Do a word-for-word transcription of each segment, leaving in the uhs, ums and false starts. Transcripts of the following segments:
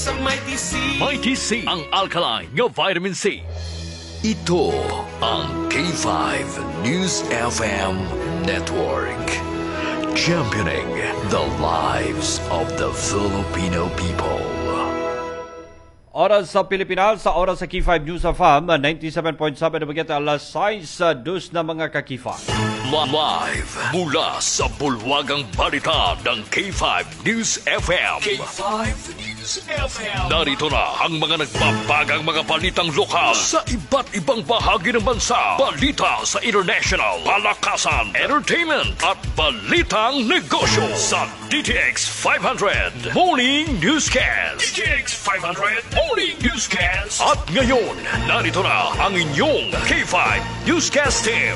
Sa Mighty C. Mighty C, ang alkaline nga vitamin C. Ito ang K five News F M Network. Championing the lives of the Filipino people. Oras sa Pilipinas, sa oras sa K five News F M, ninety-seven point seven Dumaguete, alas sais, dos na, mga ka-K five. Live mula sa bulwagang balita ng K five News F M. K five News F M. Narito na ang mga nagbabagang mga balitang lokal sa iba't ibang bahagi ng bansa. Balita sa international, palakasan, entertainment at balitang negosyo sa D T X five hundred Morning Newscast. D T X five hundred Morning Newscast. At ngayon, narito na ang inyong K five Newscast team.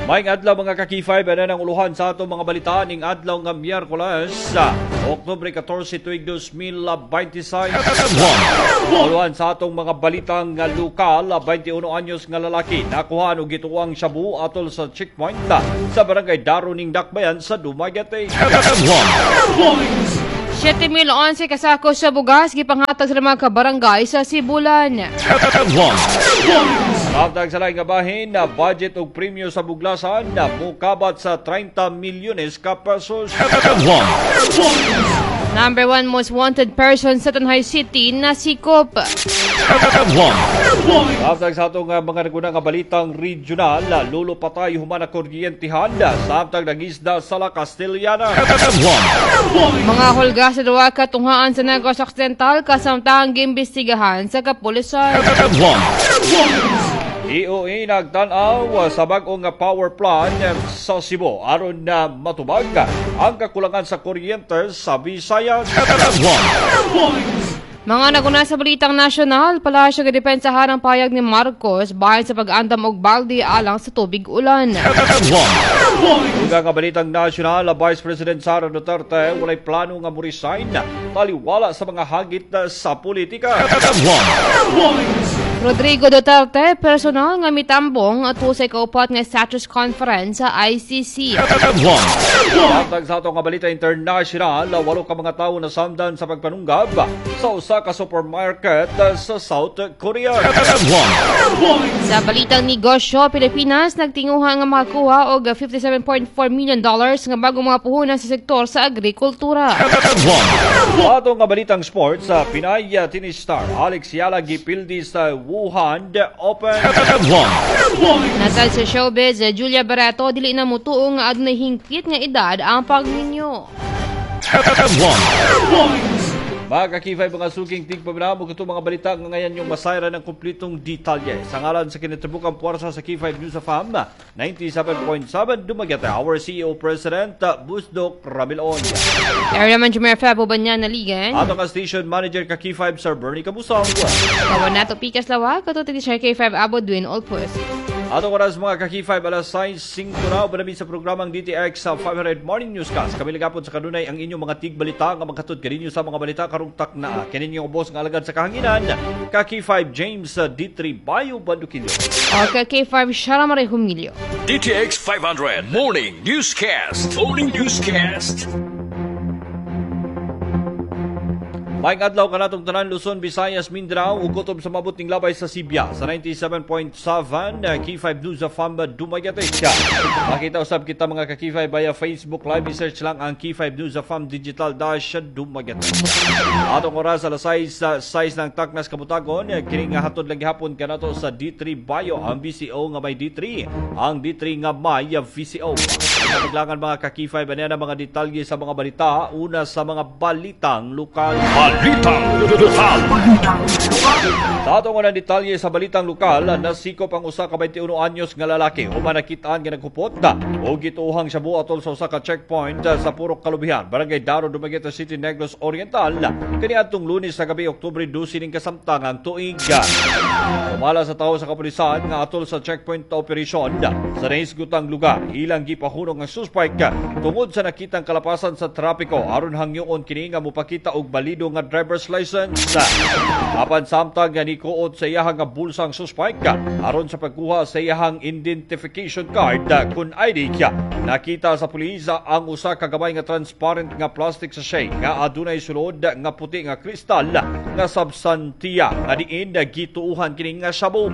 Maayong adlaw, mga ka-K five, ano ang uluhan sa atong mga balita ning adlaw nga Miyerkules, Oktubre katorse, tuig dos mil bente sais. Uluhan sa atong mga balitang nga lokal, beinte uno anyos nga lalaki nakuha og gituang shabu atol sa checkpoint sa barangay Daro ning Dakbayan sa Dumaguete. siyete mil onse kasako sa bugas gipanghatag sa mga kabarangay sa Sibulan. Samtang sa laing nga bahin, na budget og premyo sa buglasan na mukabat sa treinta milyones ka pesos. Number one most wanted person sa Tanjay City nasikop. Samtang sa atong uh, mga naguna nga balitang regional, lulo patay human nakuryentihan samtang nangisda sa La Castellana. Mga hulga sa duha ka tunghaan sa Negros Occidental kasamtang giimbestigahan sa kapulisan. E O A nagtan-aw sa bag-ong nga power plant sa Cebu aron na matubag ang kakulangan sa kuryente sa Visayas. Mga naguna sa balitang nasyonal, palasyo gidepensahan ang payag ni Marcos bahin sa pag-andam og balde alang sa tubig ulan. Uga nga balitang nasyonal, Vice President Sara Duterte walay plano nga mo-resign taliwala sa mga hagit sa politika. Rodrigo Duterte, personal nga mitambong ato sa ikaupat nga status conference sa I C C. Samtang sa atong nga balita international, walo ka mga tawo nasamdan sa pagpanunggab sa usa ka supermarket sa South Korea. Sa balitang negosyo, Pilipinas nagtinguha nga makakuha og fifty-seven point four million dollars nga bagong mga puhunan sa sektor sa agrikultura. Sa atong nga balitang sports, sa Pinay tennis star Alex Eala gipildi sa Wuhan Open. Nasal sa showbiz, Julia Barretto dili na mutuo nga adunay hingpit nga edad ang pagminyo. Mga ka-K five, mga suking tigpaminaw, mo mga balita nga ngayon yung masayra ng kumplitong detalye. Sa ngalan sa kinatribukang puwersa sa K five News F M, ninety-seven point seven Dumaguete, our C E O President, Busdok Ramilon. Area man Jumer Febo Banyan Naligan. Ato ka station manager ka K five, Sir Bernie Kabusong. Kawan nato Pikas Lawa, katuti ni Sir K five Abo Dwin Olpus. Atong oras, mga ka-K five, alas sais singko na uban sa programang D T X sa five hundred Morning Newscast. Kami lagapon sa kanunay ang inyong mga tigbalita nga maghatod kaninyo sa mga balita karong takna. Kini inyong ubos nga alagad sa kahanginan, ka K five James D three Bayo Banduquillo. O ka K five Shara Marie Humilio. D T X five hundred Morning Newscast. Morning Newscast. Maayong adlaw kanatong tanan, Luzon, Visayas, Mindanao ug kutob sa mabot ning labay sa Sibya sa ninety-seven point seven uh, K five News F M Dumaguete. Makita usab kita, mga ka K five, via Facebook Live. I-search lang ang K five News F M Digital Dash Dumaguete. Atong oras, alas sais sa sais ng taknas kabutagon, kini nga hatod lang gihapon kanato sa D three Bio, ang V C O nga may D three, ang D three nga may V C O. Kapaglangan, mga ka K five, ano ang mga detalye sa mga balita, una sa mga balitang lokal. Balitang Lokal. Sa atong unang detalye sa balitang lokal, nasikop ang usa ka beinte uno anyos nga lalaki human nakitaan nga naghupot og gituohang shabu atol sa usa ka checkpoint sa Purok Kalubihan, Barangay Daro, Dumaguete City, Negros Oriental kaniadtong Lunes sa gabi, Oktubre dose ning kasamtangang tuig. Sumala sa tawo sa kapulisan nga atol sa checkpoint operation sa nahisgutang lugar, ilang gipahunong ang suspect tungod sa nakitang kalapasan sa trapiko aron hangyoon kini nga mopakita og balido nga driver's license. Apan samtang nga nikuot sa iyahang nga bulsa ang suspect aron sa pagkuha sa iyahang identification card kun I D, nakita sa pulis ang usa ka gamay nga transparent nga plastic sachet nga adunay sulod nga puti nga kristal nga substansiya nga diin gituuhan kini nga shabu.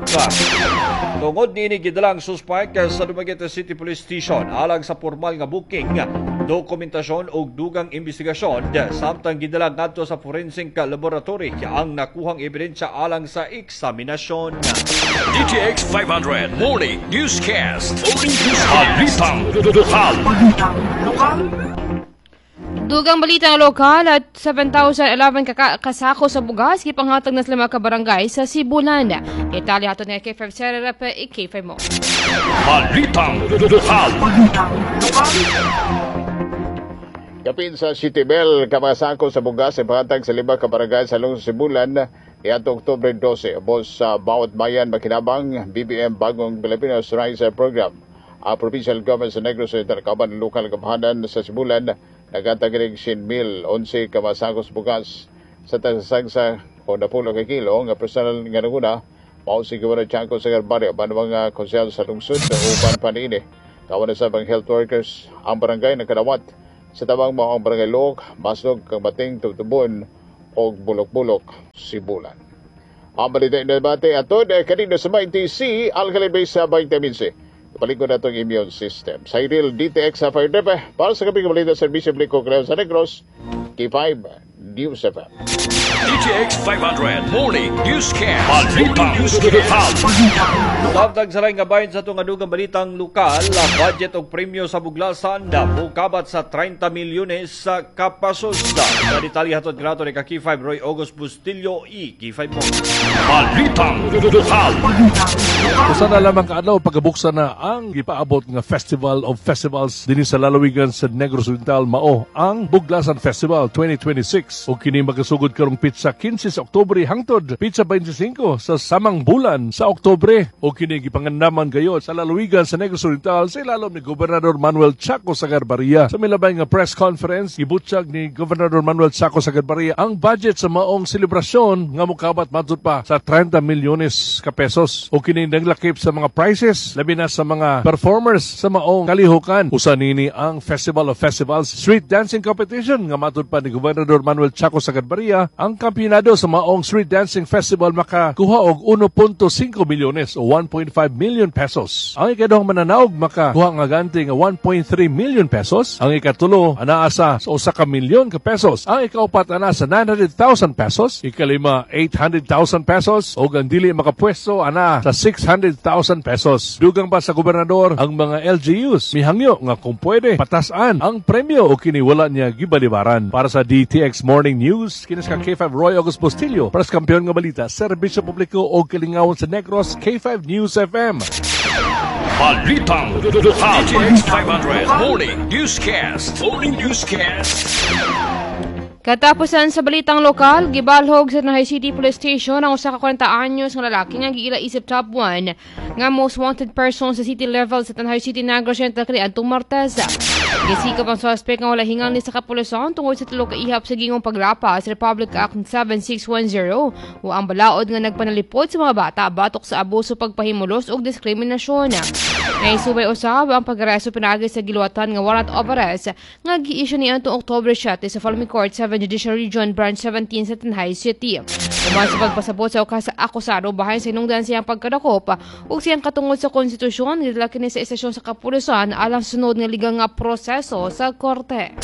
Tungod niini, gidala ang suspect sa Dumaguete City Police Station alang sa formal nga booking, dokumentasyon ug dugang investigasyon, samtang gidala ngadto sa forensic laboratory ang nakuhang ebidensya alang sa eksaminasyon. D T X five hundred Morning Newscast. Morning Newscast. Balitang Lokal. Dugang balita nga lokal at seven thousand eleven kaka- kasako sa bugas gipanghatag na sa lima ka barangay sa Sibulan. Detalye hatod nga K five Sererep, K five mo. Balitang Lokal. Kapin sa siyete mil ka mga sako sa bugas ay pangatag sa lima ka barangay sa lungsod Sibulan niadto Oktubre dose. Ubos sa bawat bayan makinabang B B M Bagong Pilipinas Rice Program. Ang provincial government sa Negros Oriental kauban ang lokal gamhanan sa Sibulan naghatag og siyem mil onse ka mga sako sa bugas sa tagsagsa o napulo ka kilo. Nga personal nga nanguna mao si Gobernador Chaco Sagarbarria uban mga konsehal sa lungsod uban pa niini. Kawan na sa mga health workers. Ang barangay nakadawat sa tabang mao ang Barangay Looc, Maslog, Kamating, Tubtubon ug Bulok-Bulok, Sibulan. Ang balita ng debate atod eh, kanino sa Mighty C, alkaline sa vitamin C. Palikod na itong immune system. Cyril D T X sa five para sa kaping balita, serbisyo publiko sa Negros, K five News F M. D T X five hundred Morning Newscast. Balitang Lokal. Samtang sa laing nga bahin sa atong adugang balitang lokal, budget og premyo sa Buglasan na mukabat sa trenta milyones sa kapasos. Sa detalye hatod kanato ni ka K five Roy August Bustillo, i K five mo. Balitang Lokal. Usa na lamang kaadlaw pagkabuksan na ang gipaabot nga Festival of Festivals dinhi sa lalawigan sa Negros Oriental, mao ang Buglasan Festival twenty twenty-six, ug kini magasugod karong pitsa kinse sa Oktubre hangtod pitsa bente singko sa samang bulan sa Oktubre, ug kini gipangandaman gayod sa lalawigan sa Negros Oriental sa ilalom ni Gobernador Manuel Chaco Sagarbarria. Sa milabay nga press conference, gibutyag ni Gobernador Manuel Chaco Sagarbarria ang budget sa maong selebrasyon nga mokabat matud pa sa trenta milyones ka pesos, ug kini naglakip sa mga prizes labi na sa mga performers sa maong kalihukan. Usa nini ang Festival of Festivals Street Dancing Competition nga matud pa ni Gobernador Manuel Chaco Sagarbarria, ang kampiyonado sa maong Street Dancing Festival makakuha og one point five milyones o one point five million pesos. Ang ikaduhang mananaog makakuha nga ganti nga one point three million pesos. Ang ikatulo anaa sa usa ka milyon ka pesos. Ang ikaupat anaa sa nine hundred thousand pesos. Ikalima, eight hundred thousand pesos. O ang dili makapwesto anaa sa six hundred thousand pesos. Dugang pa sa gobernador, ang mga L G Us mihangyo nga kung pwede patasan ang premyo o kini wala niya gibalibaran. Para sa D T X Morning News, kinis ka K five Roy August Bustillo. Para sa kampeon nga balita, serbisyo publiko o kalingawan sa Negros, K five News F M. Balitang Lokal. D T X five hundred Morning Newscast. Morning Newscast. Katapusan sa balitang lokal, gibalhog sa Tanjay City Police Station ang usa ka kwarenta anyos nga lalaki nga giila isip top one nga most wanted person sa city level sa Tanjay City, Negros Oriental kaniadtong Martes. Gisikap ang suspect nga wala hingal ni sa kapulisan tungod sa tulo ka ihap sa gingong paglapa sa Republic Act seven six one zero o ang balaod nga nagpanalipod sa mga bata batok sa abuso, pagpahimulos ug diskriminasyon. Naisubay usab ang pag-aresto pinaagi sa giluwatan nga warrant of arrest nga gi-issue niadtong Oktubre siyete sa Family Court seven Judicial Region Branch seventeen sa Tanjay City. Human sa pagpasabot sa ukas akusado bahin sa hinungdan siyang pagkadakop ug siyang katungod sa konstitusyon, gidala kini sa istasyon sa kapulisan alang sunod nga legal nga proseso sa korte.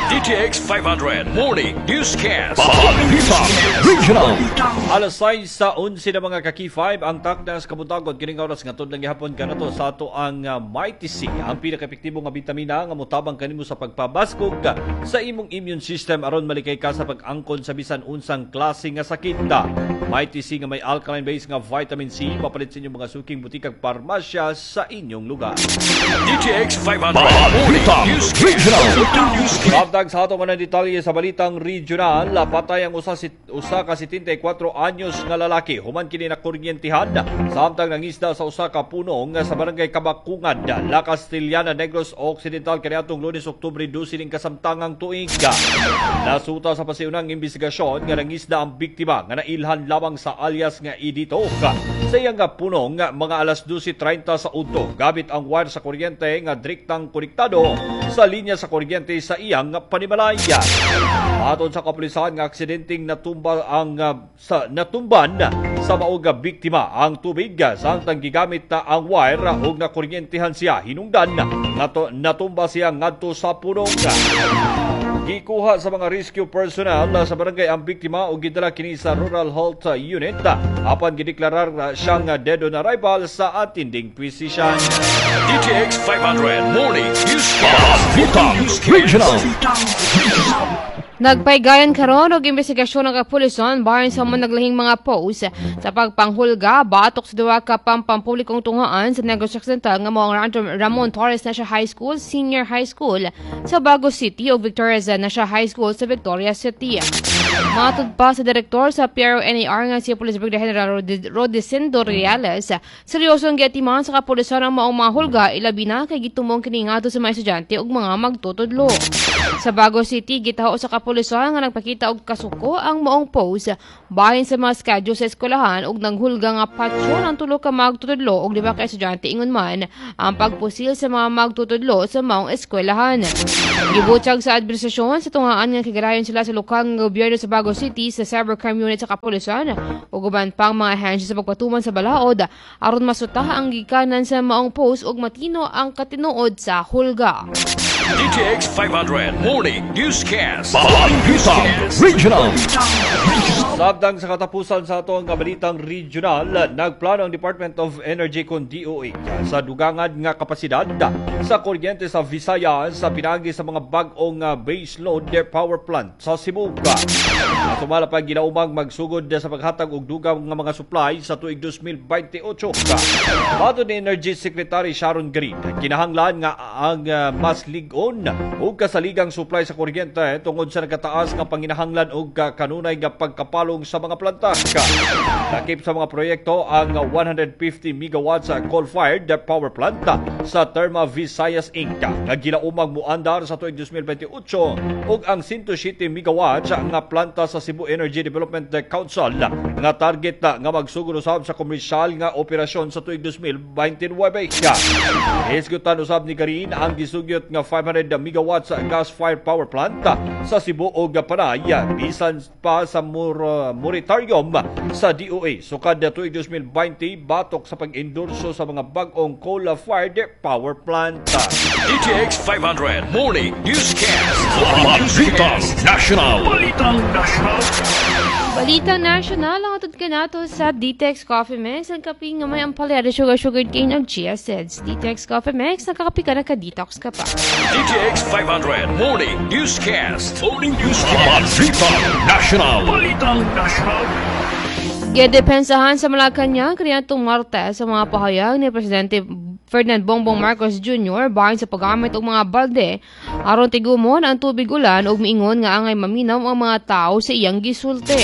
D T X five hundred Morning Newscast. Balitang Regional. Alas sais sa onse na, mga ka-K five, ang takna sa kabuntagon kining oras nga lang gihapon kanato sa ato ang uh, Mighty C, ang pinaka-epektibo nga bitamina nga motabang kanimo sa pagpabaskog sa imong immune system aron malikay ka sa pag-angkon sa bisan unsang klase nga sakit. Mighty C nga may alkaline base nga vitamin C, mapalit sa inyong mga suking butikag parmasya sa inyong lugar. D T X five hundred Morning Newscast. Regional. Samtang sa atong mga detalye sa balitang regional, patay ang usa, usa ka setenta y kwatro anyos nga lalaki human kini nakuryentihan samtang nangisda sa usa ka punong sa Barangay Kabakungan, La Castellana, Negros Occidental kaniadtong Lunes, Oktubre dose ning kasamtangang tuig. Nasuta sa pasiunang investigasyon nga nangisda ang biktima nga nailhan lamang sa alias nga Edito sa iyang punong mga alas dose trenta sa udto gamit ang wire sa kuryente nga direktang konektado sa linya sa kuryente sa iyang panimalaya. Aton sa kapulisan nga aksidenteng natumba ang uh, sa natumban sa mao nga biktima ang tubig samtang gigamit na ang wire ug nakuryentihan siya, hinungdan nga natumba siya ngadto sa punong. Gikuha sa mga rescue personnel sa barangay ang biktima ug gidala kini sa Rural Health Unit apan gideklarar siyang dead on arrival sa attending physician. D T X five hundred Morning Newscast. Balitang Regional. Nagpaygayon karon og investigasyon ang kapulisan bahin sa mga naglahing mga post sa pagpanghulga batok sa duha ka pampublikong tungaan sa Negros Occidental nga mao ang Ramon Torres National High School, Senior High School sa Bago City ug Victoria National High School sa Victoria City. Matod pa sa direktor sa P R O N A R nga si Police Brigadier General Rodecindo Reales, seryoso ang giatiman sa kapulisan ang maong mga hulga, ilabi na kay gitumong kini ngadto sa mga estudyante ug mga magtutudlo. Sa Bago City, gitaho sa kapulisan nga nagpakita og kasuko ang maong post bahin sa mga schedule sa eskwelahan ug nanghulga nga patsyon ang tulo ka magtutudlo ug lima ka estudyante, ingon man ang pagpusil sa mga magtutudlo sa maong eskwelahan. Gibutyag sa administrasyon sa tungaan nga kigarayon sila sa lokal nga gobyerno sa Bago City, sa Cybercrime Unit sa kapulisan ug uban pang mga ahensya sa pagpatuman sa balaod aron masuta ang gikanan sa maong post ug matino ang katinuod sa hulga. D T X five hundred Morning Newscast. Balitang Regional. Samtang sa katapusan sa atong balitang regional, nagplano ang Department of Energy kon D O E sa dugangan nga kapasidad sa kuryente sa Visayas sa pinagi sa mga bag-ong base load power plant sa Cebu. Sumala pa ginaumang magsugod sa paghatag og dugang nga mga supply sa tuig dalawang libo beinte otso. Matod ni Energy Secretary Sharon Garin, kinahanglan nga ang mas lig-on ug kasaligang supply sa kuryente tungod sa nagkataas nga panginahanglan og kanunay nga pagkapalong sa mga planta. Lakip sa mga proyekto ang one hundred fifty megawatts coal-fired power plant sa Therma Visayas Incorporated nga ginaumang muandar sa tuig dalawang libo beinte otso ug ang one hundred seven megawatts nga planta sa Cebu Energy Development Council nga target nga magsugod usab sa komersyal nga operasyon sa tuig dalawang libo beinte nuwebe. Hisgutan usab ni Garin ang gisugyot nga five hundred megawatts gas-fired power plant sa Cebu ug Panay bisan pa sa mor moratorium sa D O E sukad tuig dalawang libo beinte batok sa pag-endorso sa mga bag-ong coal-fired power plant. D T X five hundred Morning Newscast. Balitang National. Balitang National. Balitang National ang atod kanato sa D T X Coffee Mix, ang kape nga may ampalaya, sugar, sugar cane ug chia seeds. D T X Coffee Mix, nakakape ka, naka-detox ka pa. D T X five hundred Morning Newscast. Morning Newscast. Balitang National. Balitang National. Gidepensahan sa Malacanang kaniadtong Martes sa mga pahayag ni Presidente Ferdinand Bongbong Marcos Junior bahin sa paggamit og mga balde aron tigumon ang tubig ulan ug miingon nga angay maminaw ang mga tao sa iyang gisulti.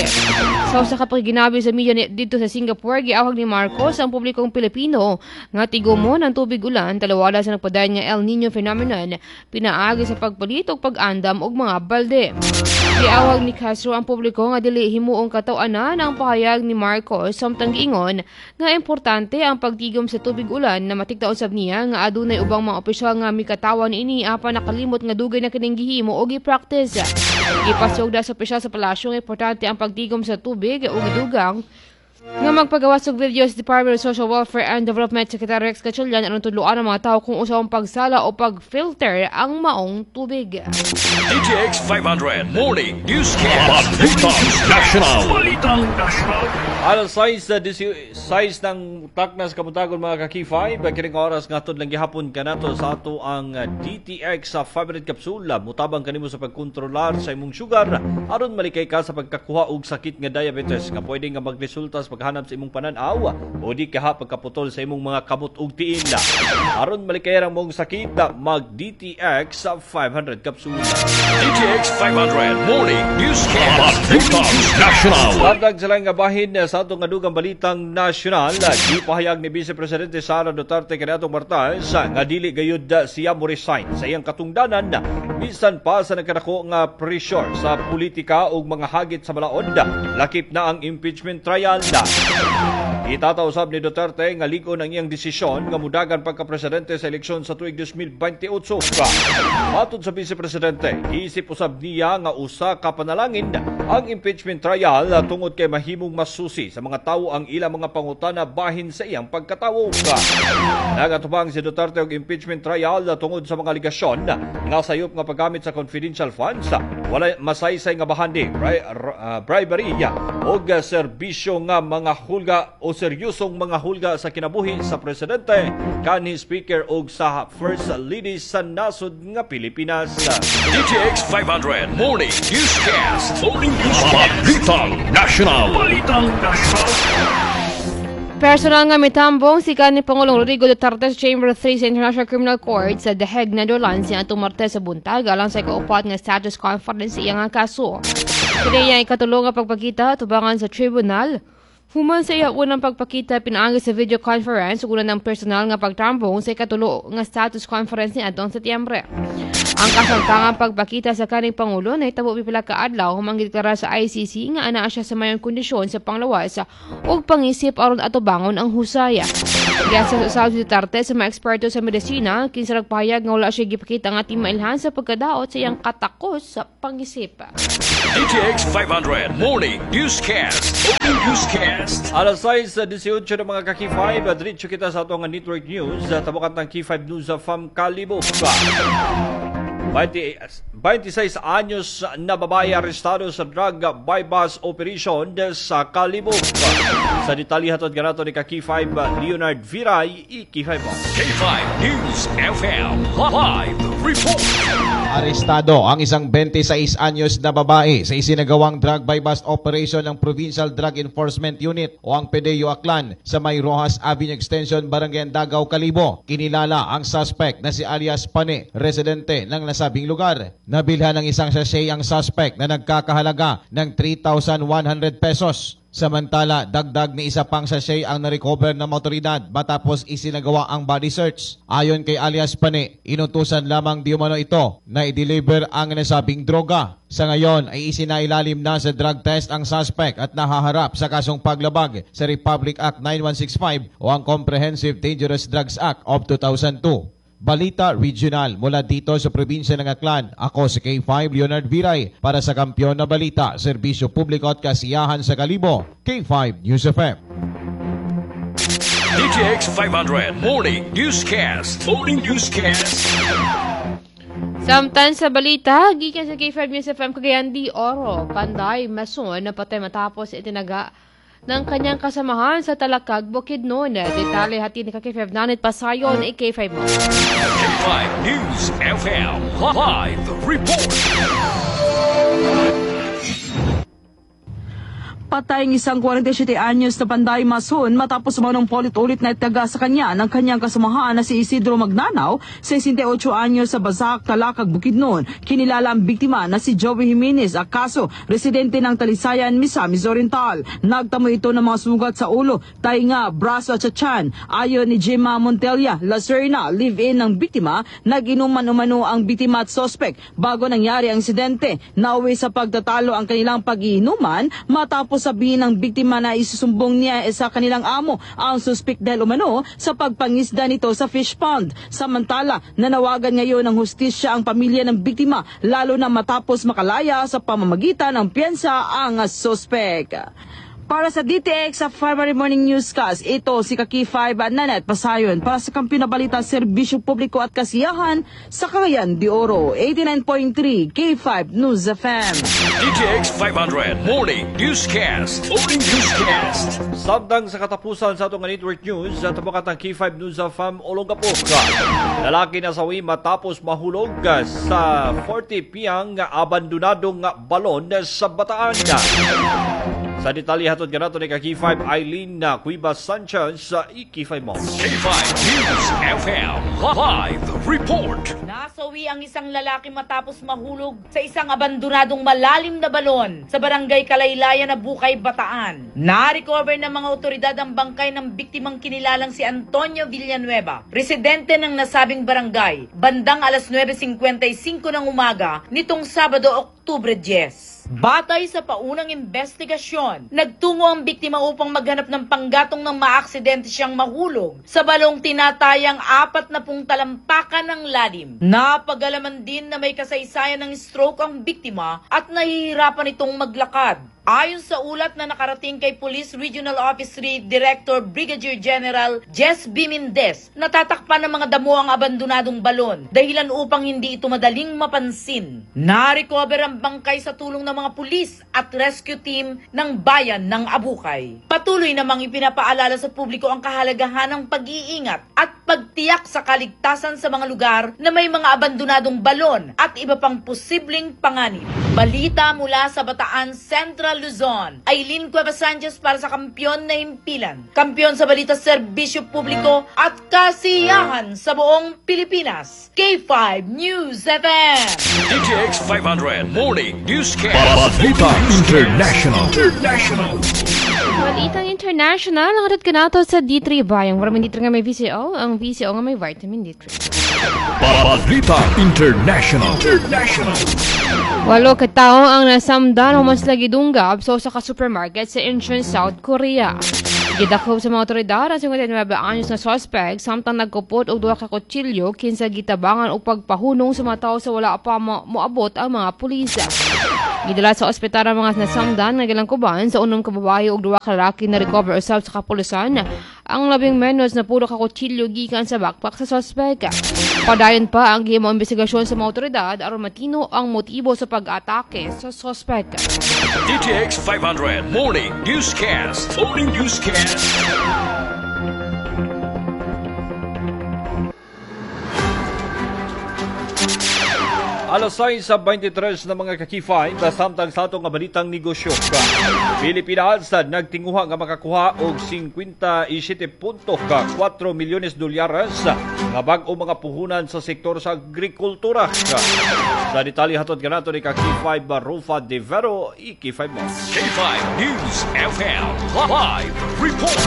Sa usa ka pakiginabi sa media dito sa Singapore, giawhag ni Marcos ang publikong Pilipino nga tigumon ang tubig ulan talawala sa nagpadayon nga El Nino phenomenon pinaagi sa pagpalit og pag-andam og mga balde. Giawhag ni Castro ang publiko nga dili himuong kataw-anan ang pahayag ni Marcos samtang giingon nga importante ang pagtigom sa tubig ulan na matikda usab niya nga adunay ubang mga opisyal nga mikatawan niini apan nakalimot nga dugay na kining gihimo o gi-practice. Gipasugda sa opisyal sa palasyo nga importante ang pagtigom sa tubig ug gidugang nga magpagawas og video sa Department of Social Welfare and Development Secretary Rex Gatchalian aron tudloan ang mga tao kung unsaon pagsala o pag-filter ang maong tubig. D T X five hundred Morning Newscast. Balitang National. Balitang National. Alas sais sa sais ng taknas kabuntagon, mga ka-K five, kining oras nga lang gihapon kanato sa ato ang D T X sa five hundred kapsula. Mutabang kanimo sa pagkontrolar sa imong sugar aron malikay ka sa pagkakuha og sakit nga diabetes nga pwede nga magresulta sa paghanap sa imong pananaw o di kaha pagkaputol sa imong mga kamot ug tiil. Aron malikayan ang mong sakit, mag D T X five hundred capsule. D T X five hundred Morning Newscast. Balitang National. Samtang sa nga bahin sa atong adugang balitang nasyonal, gipahayag ni Vice Presidente Sara Duterte kaniadtong Martes nga dili gayud siya mo resign sa iyang katungdanan bisan pa sa nagkadako nga pressure sa politika ug mga hagit sa balaod, lakip na ang impeachment trial. Itataw usab ni Duterte nga lig-on ang iyang desisyon nga mudagan pagka-presidente sa eleksyon sa tuig dalawang libo dalawampu't walo. Matod sa Vice Presidente, isip usab niya nga usa ka panalangin ang impeachment trial tungod kay mahimong masusi sa mga tawo ang ilang mga pangutana bahin sa iyang pagkatawo. Nagatubang si Duterte og impeachment trial tungod sa mga alegasyon nga sayop nga paggamit sa confidential funds, wala masaysay nga bahandi, bri- uh, bribery og serbisyo nga mga hulga o seryosong mga hulga sa kinabuhi sa presidente, kanhi speaker og sa first lady sa nasod nga Pilipinas. D T X five hundred Morning Newscast. Morning Newscast. Balitang National. Balitang National. Personal nga mitambong si kanhi Pangulong Rodrigo Duterte sa Chamber three sa International Criminal Court sa The Hague, Netherlands, niadtong Martes sa buntag alang sa ikaupat nga status conference sa iyang nga kaso. Kini iyang ikatulo nga pagpakita tubangan sa tribunal human sa iya unang pagpakita pinaagi sa video conference ug una ng personal nga pagtambong sa ikatulo nga status conference niadtong Setyembre. Ang kasangtangang pagpakita sa kaning Pangulo nahitabo pipila ka adlaw human gideklara sa I C C nga anaa siya sa mayong kondisyon sa panglawas ug pangisip aron atubangon ang husay. Giasa usab si Duterte sa mga eksperto sa medisina kinsa nagpahayag nga wala siya gipakita nga timailhan sa pagkadaot sa iyang katakos sa pangisip. D T X five hundred Morning Newscast. Morning Newscast. Alas sais sa eighteen ng mga ka-K five, diretso kita sa atong network news. Tabukan ng K five News from Kalibo. twenty, twenty-six anyos na babae arestado sa drug buy-bust operation sa Kalibo. Sa detalye, hatod kanato ni ka-K five Leonard Viray, i-K five mo. K five News F M Live Report. Arestado ang isang twenty-six anyos na babae sa isinagawang drug buy-bust operation ng Provincial Drug Enforcement Unit o ang PDEU Aklan sa May Rojas Avenue Extension, Barangay Andagao, Kalibo. Kinilala ang suspect na si alias Pane, residente ng nasabing lugar. Nabilhan ng isang sachet ang suspect na nagkakahalaga ng three thousand one hundred pesos. Samantala, dagdag ni isa pang sachet ang na-recover ng otoridad matapos isinagawa ang body search. Ayon kay alias Pane, inutusan lamang di umano ito na i-deliver ang nasabing droga. Sa ngayon ay isinailalim na sa drug test ang suspect at nahaharap sa kasong paglabag sa Republic Act nine one six five o ang Comprehensive Dangerous Drugs Act of two thousand two. Balita Regional mula dito sa probinsya ng Aklan. Ako si K five Leonard Viray para sa Kampiyon na Balita, Serbisyo Publiko at Kasiyahan sa Kalibo. K five News F M. D T X five hundred Morning Newscast. Morning Newscast. Samtang sa balita, gikan sa K five News F M Cagayan de Oro, Panday Mason napatay matapos itinaga ng kanyang kasamahan sa Talakag, Bukidnon. Detalye hatid ni ka-K five Nanet Pasayon, i-K five mo. K five News F M Live Report. Patay ang isang forty-seven anyos na Panday Mason matapos umanong paulit-ulit na itaga sa kanya ng kanyang kasamahan na si Isidro Magnanaw, sixty-eight anyos, sa Basak, Talakag, Bukidnon. Kinilala ang biktima na si Joey Jimenez Acaso, residente ng Talisayan, Misamis Oriental. Nagtamo ito ng mga sugat sa ulo, tainga, braso at sa tiyan. Ayon ni Gemma Montella Lacerna, live-in ng biktima, nag-inuman umano ang biktima at suspect bago nangyari ang insidente. Nauwi sa pagtatalo ang kanilang pag-iinuman matapos sabihin ng biktima na isusumbong niya sa kanilang amo ang suspect dahil umano sa pagpangisda nito sa fish pond. Samantala, nanawagan ngayon ng hustisya ang pamilya ng biktima, lalo na matapos makalaya sa pamamagitan ng piyansa ang suspect. Para sa D T X sa February Morning Newscast, ito si Kaki five Nanet Pasayon para sa Kampiyon na Balita, Serbisyo Publiko at Kasiyahan sa Cagayan de Oro, eighty-nine point three K five News F M. D T X five hundred Morning Newscast. Morning Newscast. Samtang sa katapusan sa atong network news, sa tabakat ng K five News F M Olongapo. Lalaki nasawi matapos mahulog sa forty piyang abandonadong balon sa Bataan. Sa detalye hatod kanato ni ka K five Eileen na Cueva Sanchez sa E K five mo. K five News F M Live Report. Nasawi ang isang lalaki matapos mahulog sa isang abandonadong malalim na balon sa barangay Kalaylayan na Bukay, Bataan. Na-recover ng mga otoridad ang bangkay ng biktimang kinilalang si Antonio Villanueva, residente ng nasabing barangay, bandang alas nuwebe singkwenta y singko ng umaga nitong Sabado, Oktubre diyes. Batay sa paunang investigasyon, nagtungo ang biktima upang maghanap ng panggatong nang maaksidente siyang mahulog sa balong tinatayang apat na pung talampakan ng lalim. Napag-alaman din na may kasaysayan ng stroke ang biktima at nahihirapan itong maglakad. Ayon sa ulat na nakarating kay Police Regional Office three Director Brigadier General Jess B. Mendez, natatakpan ng mga damo ang abandonadong balon, dahilan upang hindi ito madaling mapansin. Na-recover ang bangkay sa tulong ng mga pulis at rescue team ng bayan ng Abucay. Patuloy namang ipinapaalala sa publiko ang kahalagahan ng pag-iingat at pagtiyak sa kaligtasan sa mga lugar na may mga abandonadong balon at iba pang posibleng panganib. Balita mula sa Bataan, Central Luzon. Eileen Cueva Sanchez para sa Kampiyon na Himpilan. Kampiyon sa balita, serbisyo publiko at kasiyahan sa buong Pilipinas. K five News F M. D T X five hundred Morning Newscast. Balita International. International. Balitang International, ang hatod kanato sa D three Bayang. Vitamin D three nga may V C O, ang V C O nga may vitamin D three. Balita International. International. Walo ka tawo ang nasamdan human sila gidunggab sa usa ka supermarket sa Incheon, South Korea. Gidakop sa mga otoridad ang singkwenta y nuwebe anyos na suspect samtang nagkupot og duha ka kutsilyo kinsa gitabangan og pagpahunong sa mga tawo sa wala pa mo moabot ang mga pulis. Gidala sa ospital ang mga nasamdan nga gilangkuban sa unom ka babae ug duha ka lalaki. Na recover usab sa kapulisan ang labing menos na pulo ka kutsilyo gikan sa backpack sa suspect. Padayon pa ang gihimong investigasyon sa mga otoridad aron matino ang motibo sa pag-atake sa suspect. D T X five hundred Morning Newscast. Morning Newscast. Alas sais sa beinte tres na mga ka-K five, samtang sa atong nga balitang negosyo. Pilipinas nagtinguha nga makakuha og singkwenta y siyete punto kuwatro milyones dolyares nga bag-o mga puhunan sa sektor sa agrikultura. Sa detalye hatod kanato ni ka-K five Rufa De Vero, I K five mo. K five News F M Live Report.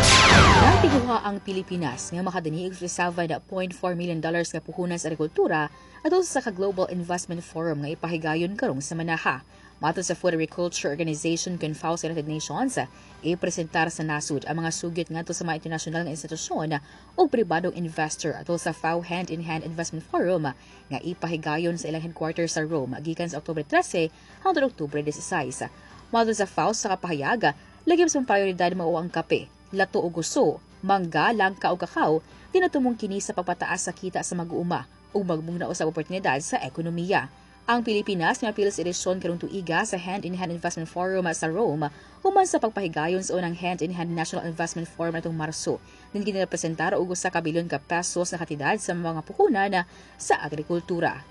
Nagtinguha ang Pilipinas nga makadani og seven point four million dollars nga puhunan sa agrikultura atol sa ka Global Investment Forum nga ipahigayon karong semanaha. Matod sa Food Agriculture Organization kon FAO sa United Nations, ipresentar sa nasud ang mga sugyot ngadto sa mga internasyonal nga institusyon ug pribadong investor atol sa FAO Hand-in-Hand Investment Forum nga ipahigayon sa ilang headquarters sa Rome gikan sa Oktubre trese hangtod Oktubre disasais. Matod sa FAO sa kapahayag, lagim sa prioridad mao ang kape, lato ug guso, mangga, langka ug kakao, tinatumong kini sa pagpataas sa kita sa mag-uuma ug magmugna usab oportunidad sa ekonomiya. Ang Pilipinas nga apil sa edisyon karong tuiga sa Hand-in-Hand Investment Forum sa Rome human sa pagpahigayon sa unang Hand-in-Hand National Investment Forum natong Marso. Din kini representar og usa ka bilyon ka pesos na kantidad sa mga puhunan sa agrikultura.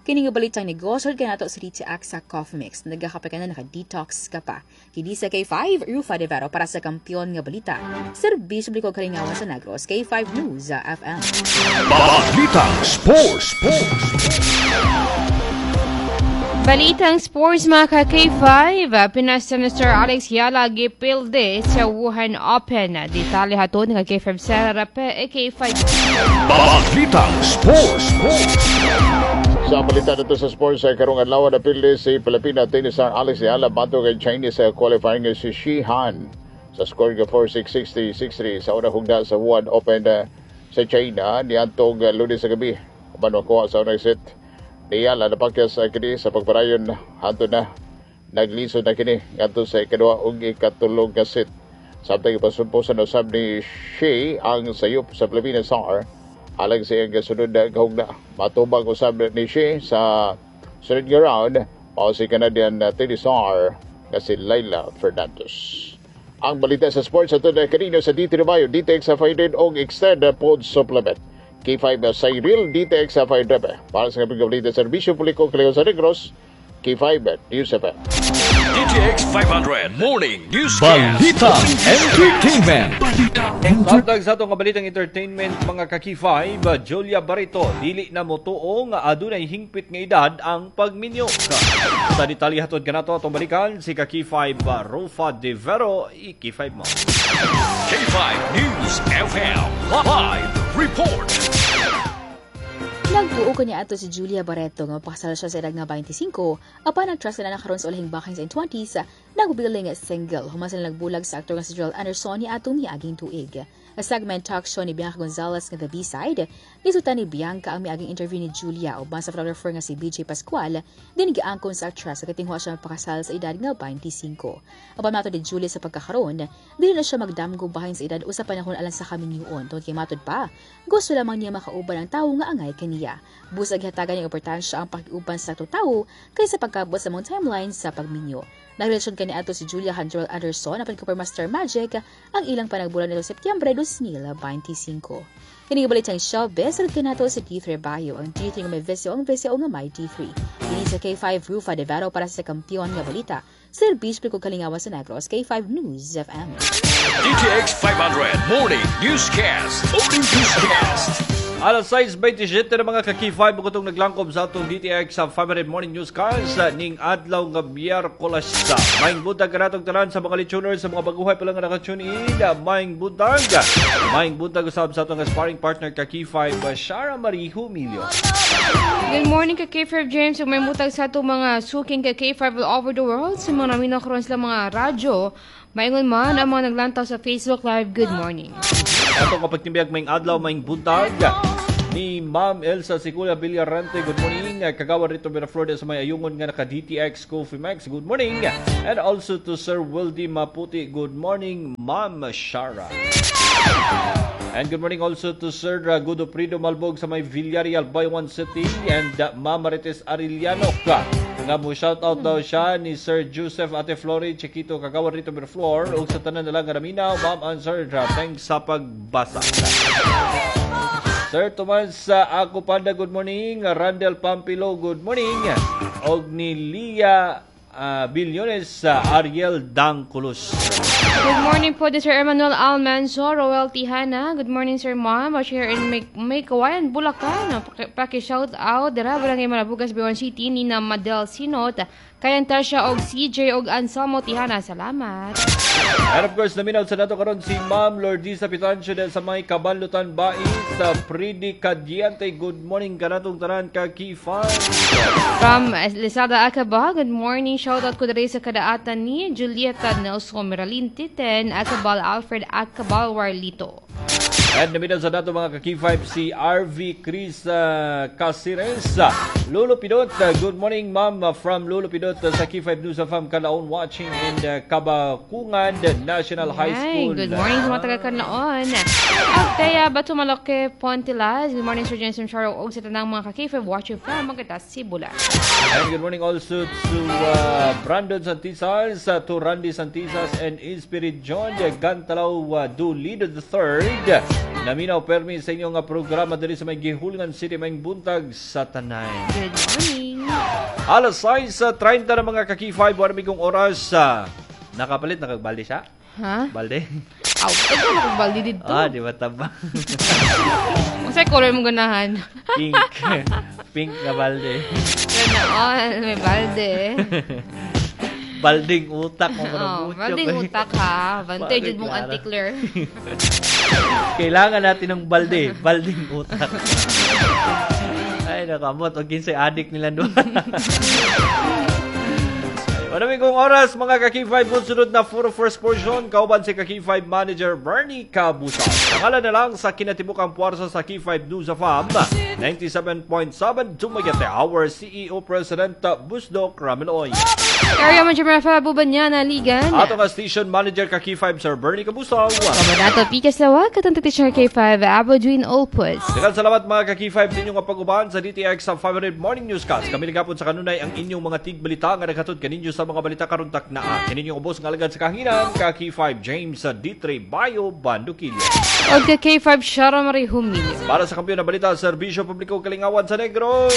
Kini nga balitang negosyo kanato sa D T X sa Coffee Mix. Nagakape ka na, naka-detox ka pa. Kini sa K five, Rufa De Vero para sa Kampiyon nga Balita. Serbisyo publiko kalingawan sa Negros, K five News F M. Balitang Sports. Sports. Balitang sports, mga ka-K five, Pinas Senator Alex Eala gipilde sa Wuhan Open. Detalye hatod ng K five Sarah P, K five. Balitang Sports. Sports. Sa balita dito sa sports ay karong adlaw, napili si Pilipina tennis star Alex Eala batok kay Chinese qualifying si Shi Han sa score nga four six, six three, six three sa unang hugna sa Wuhan Open eh, sa China niadtong eh, Lunes sa gabi. Uban makuha sa unang set ni Eala, napakyas sa kini sa pagparayon hantod na naglisod na kini ngadto sa ikaduha ug ikatulong ka set. Samtang ipasumposan usab ni Shi ang sayop sa Pilipinas star alang sa iyang kasunod na kahugna. Matubang usab ni Shi sa sunod nga round mao si Canadian tennis star nga si Leylah Fernandez. Ang balita sa sports ato na kanino sa D three Mayo, D T X sa five hundred og Extend Pod Supplement. K five Cyril D T X sa five hundred. Para sa kapig balita, serbisyo publiko kaliw sa Negros, K five News F M. D T X five hundred Morning Newscast. Balita Entertainment. Samtang sa atong kabalitang entertainment, mga ka-K five, Julia Barreto, dili na motuo nga adunay hingpit nga edad ang pagminyo. Sa detalye hatod kanato atong balikan si ka-K five Rufa De Vero, i-K five mo. K five News F M Live Report. Nagtuo kaniadto si Julia Barreto nga mapakasal siya sa edad nga twenty-five, apan nag-trust na na karon sa ulahing bahin sa twenties, nagbiling single human sila nagbulag sa aktor nga si Gerald Anderson ni atong miaging tuig. Sa segment talk show ni Bianca Gonzalez nga The B-Side, gisutan ni Bianca ang miaging interview ni Julia uban sa photographer nga si B J Pascual, din giangkon sa actress sa katingwa siya mapakasal sa edad nga twenty-five. Apan matod ni Julia, sa pagkakaroon, dili na siya magdamgo bahin sa edad o sa panahon alang sa kaminyuon tungod kay matod pa, gusto lamang niya makauban ang tawo nga angay kaniya. Busag gihatagan niya importansya ang pakiuban sa atong tawo kaysa pagkabot sa mga timeline sa pagminyo. Nagrelasyon kaniadto si Julia kang Gerald Anderson apan kumpirma Star Magic ang ilang panagbulag nito Setyembre twenty twenty-five. Kini balitang showbiz sulod kanato sa D three Bio, ang D three nga may visyo, ang visyo nga may D three. Kini sa K five Rufa De Vero para sa kampiyon nga balita. Serbisyo ko kalingawan sa Negros, K five News F M. D T X five hundred Morning Newscast. Morning Newscast. Alas sais twenty-seven na, mga ka-K five, bukotong naglangkob sa atong D T X sa five hundred Morning Newscast ning adlaw nga Miyerkules. Maayong buntag kanatong tanan sa mga listeners, sa mga baguhay pa lang nga naka-tune in. Maayong buntag. Maayong buntag usab sa atong sparring partner ka K five, Shara Marie Humilio. Good morning ka K five James, ug maayong buntag sa atong mga suking ka K five all over the world, sa mga naminaw karon sila mga radyo. Maingon man ang mga naglantaw sa Facebook Live. Good morning. Atong kapagtimbiag, maayong adlaw, maayong buntag ni Ma'am Elsa Sicula Villarante, good morning. Kagawad rito Miraflores sa may ayungon nga naka D T X Coffee Max, good morning. And also to Sir Wildy Maputi, good morning, Ma'am Shara. And good morning also to Sir uh, Gudoprido Malbog sa may Villarreal, Bayawan City and uh, Ma'am Marites Arellano. Nga mo shout out daw siya ni Sir Joseph Ate Flori Chiquito, kagawad rito Miraflor, ug sa tanan na lang nga naminaw, Ma'am and Sir, uh, thanks sa pagbasa. Sir Tomas uh, Ako Panda, good morning. Randel Pampilo, good morning. Og ni Lia uh, Billones, uh, Ariel Dangculus. Good morning po to Sir Emmanuel Almanzo, Roel Tihana. Good morning, Sir Ma'am. Watching here in May, Meycauayan, Bulacan. Paki-shout out dira Barangay Malabugas, Bayawan City, Nina Madel Sinot. Kayan Tasha og C J og Anselmo Tihana. Salamat. And of course, naminaw sa nato karon si Ma'am Lordisa Pitancio del sa may Kabanlutan Bais sa Pridi Cadiente. Good morning kanatong tanan ka K five. From Lizada Acaba, good morning. Shout out ko diri sa kadaatan ni Julieta Nelson Meralin Titen, Acabal Alfred Acabal Warlito. And naminaw sa nato, mga ka-K five, si R V Chris uh, Casires. Lolo Pidot, uh, good morning, ma'am, uh, from Lolo Pidot uh, sa K five News F M Kalaon, watching in uh, Kabakungan National High Ay, School. Good morning sa mga taga Kanlaon. Althea Batumaloke Pontilas. Good morning, Sir Jensen Charo og sa tanang mga ka-K five watching from Maganda Sibula. And good morning also to uh, Brandon Santisas, uh, to Randy Santisas and Inspirit John Gantalaw uh, Dulido the Third. Naminaw permi sa inyong uh, programa diri sa may Gihulngan City, maayong buntag sa tanan. Good morning. Alas sais trenta na, mga ka-K five, wala kong oras. Uh, nakapalit, nakagbalde siya? Ha? Balde? Aw, taga na kong balde dito. Ah, di ba taba? Unsay color mo ganahan? Pink. Pink na balde. Ganaon, may balde. Balding utak mo Oh, balding utak ha. Bantay jud mong Klaro. antikler. Kailangan natin ng balde. Balding utak. Ay, nakamot. O kinsay adik nila doon. Marami kong oras, mga ka-K five, sunod na for first portion, kauban si ka-K five Manager Bernie Cabusa. Pangalan na lang sa kinatibukang puwersa sa K five News F M, ninety-seven point seven Dumaguete, our C E O President Busdo Ramiloy. Area Manager Rafa Bubanyana Ligan. Ato nga Station Manager ka K five Sir Bernie Cabusa. Kamadato Pika Slawa, katong teacher K five, Abo Dwin Opus. Daghang salamat, mga ka-K five, sa inyong pag-uban sa D T X sa five hundred Morning Newscast. Kami nagapon sa kanunay ang inyong mga tigbalita nga naghatod kaninyo sa sa mga balita karon taknaa. Kini inyong ubos nga alagad sa kahanginan, ka K five James sa D three Bayo Bandukilya. Og ka K five Shara Marie Humilio. Para sa kampiyon na balita, serbisyo publiko, kalingawan sa Negros.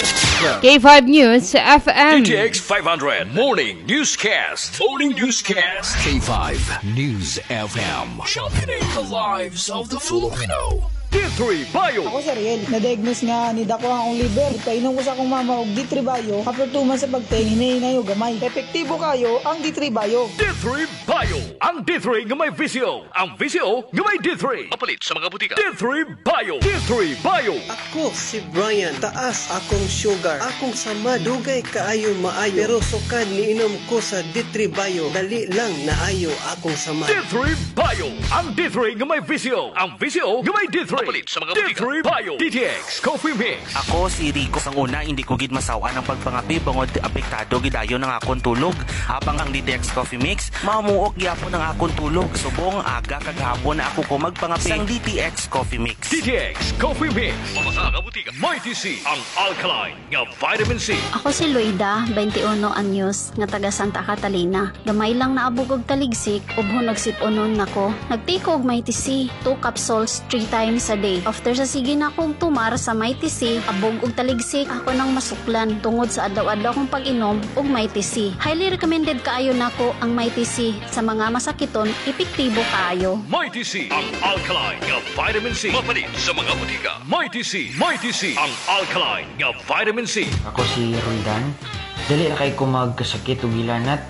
K five News F M. D T X five hundred Morning Newscast. Morning Newscast. K five News F M. Championing the lives of the Filipino. D three Bio. Ako si Ariel, na-diagnose nga ni dako ang akong liver. Painom ko sa akong mama og D three Bio. After two months sa pag-take, hinay og gamay. Epektibo kayo ang D three Bio. D three Bio. Ang D three nga may V C O. Ang V C O nga may D three. Mapalit sa mga butika. D three Bio. D three Bio. Ako si Brian, taas akong sugar. Akong sama dugay kaayo maayo. Pero sukad niinom ko sa D three Bio, dali lang naayo akong sama. D three Bio. Ang D three nga may V C O. Ang V C O nga may D three. Mapalit sa mga butika. D three Bio. D T X Coffee Mix. Ako si Rico. Sang una, hindi ko gid masawan ang pagpangapi bangod apektado gidayon ang akong tulog. Apang ang D T X Coffee Mix, mamuok gyapon ang akong tulog. Subong aga kag hapon na ako ko magpangapi sang D T X Coffee Mix. D T X Coffee Mix. Mabasa nga butika. Mighty C. Ang alkaline nga vitamin C. Ako si Loida, twenty-one anyos, nga taga Santa Catalina. Gamay lang naabog og taligsik, ubhon nagsip-unon nako. Nag-take og Mighty C, two capsules three times a day. After sa sige na akong tumar sa Mighty C, abog og taligsik ako nang masuklan tungod sa adlaw-adlaw kong pag-inom og Mighty C. Highly recommended kaayo nako ang Mighty C sa mga masakiton, epektibo kaayo. Mighty C. Ang alkaline nga vitamin C. Mapalit sa mga butika. Mighty C. Mighty C. Ang alkaline nga vitamin C. Ako si Roldan. Dali ra kay ko magkasakit ug hilanat.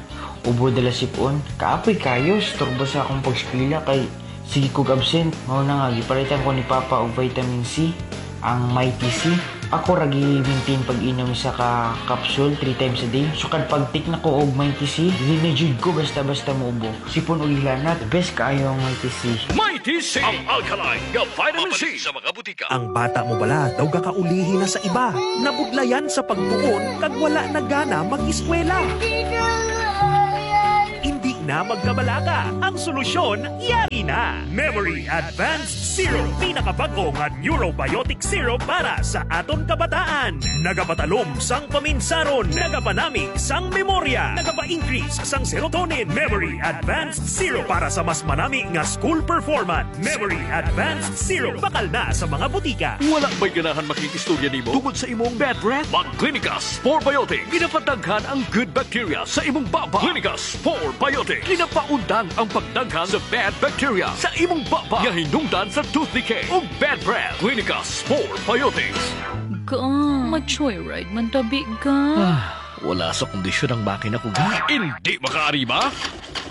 Ubo dala sipon. Kaapoy kayo, storbo sa akong pagskwela kay sige kog absent. Mao na nga gipalitan ko ni Papa og vitamin C, ang Mighty C. Ako ra gi-maintain pag-inom sa ka capsule three times a day. Sukad pag-take na ko og Mighty C, dili na jud ko basta-basta muubo. Sipon ug hilanat, the best kaayo ang Mighty C. Mighty C. Ang alkaline nga vitamin C. Sa mga butika. Ang bata mo bala daw gakaulihi na sa iba. Nabudlayan sa pagtuon kag wala na gana mag-eskwela. Hindi na magkabalaka. Ang solusyon, yari na. Memory Advanced Syrup. Pinakabago nga neurobiotic syrup para sa aton kabataan. Nagapatalom sang paminsaron. Nagapanami sang memorya. Nagapa-increase sang serotonin. Memory Advanced Syrup para sa mas manami nga school performance. Memory Advanced Syrup. Bakal na sa mga butika. Wala ba'y ganahan makikistorya nimo tungod sa imong bad breath? Mag-Clinicas four Biotic. Ginapadaghan ang good bacteria sa imong baba. Clinicas four Biotic. Ginapaundang ang pagdaghan sa bad bacteria sa imong baba. Nga hinungdan sa tooth decay ug bad breath. Clinicas four Biotics. Ga, ma-joyride man tabi ga. Ah, wala sa kondisyon ang makina ko ga. Hindi makaarima?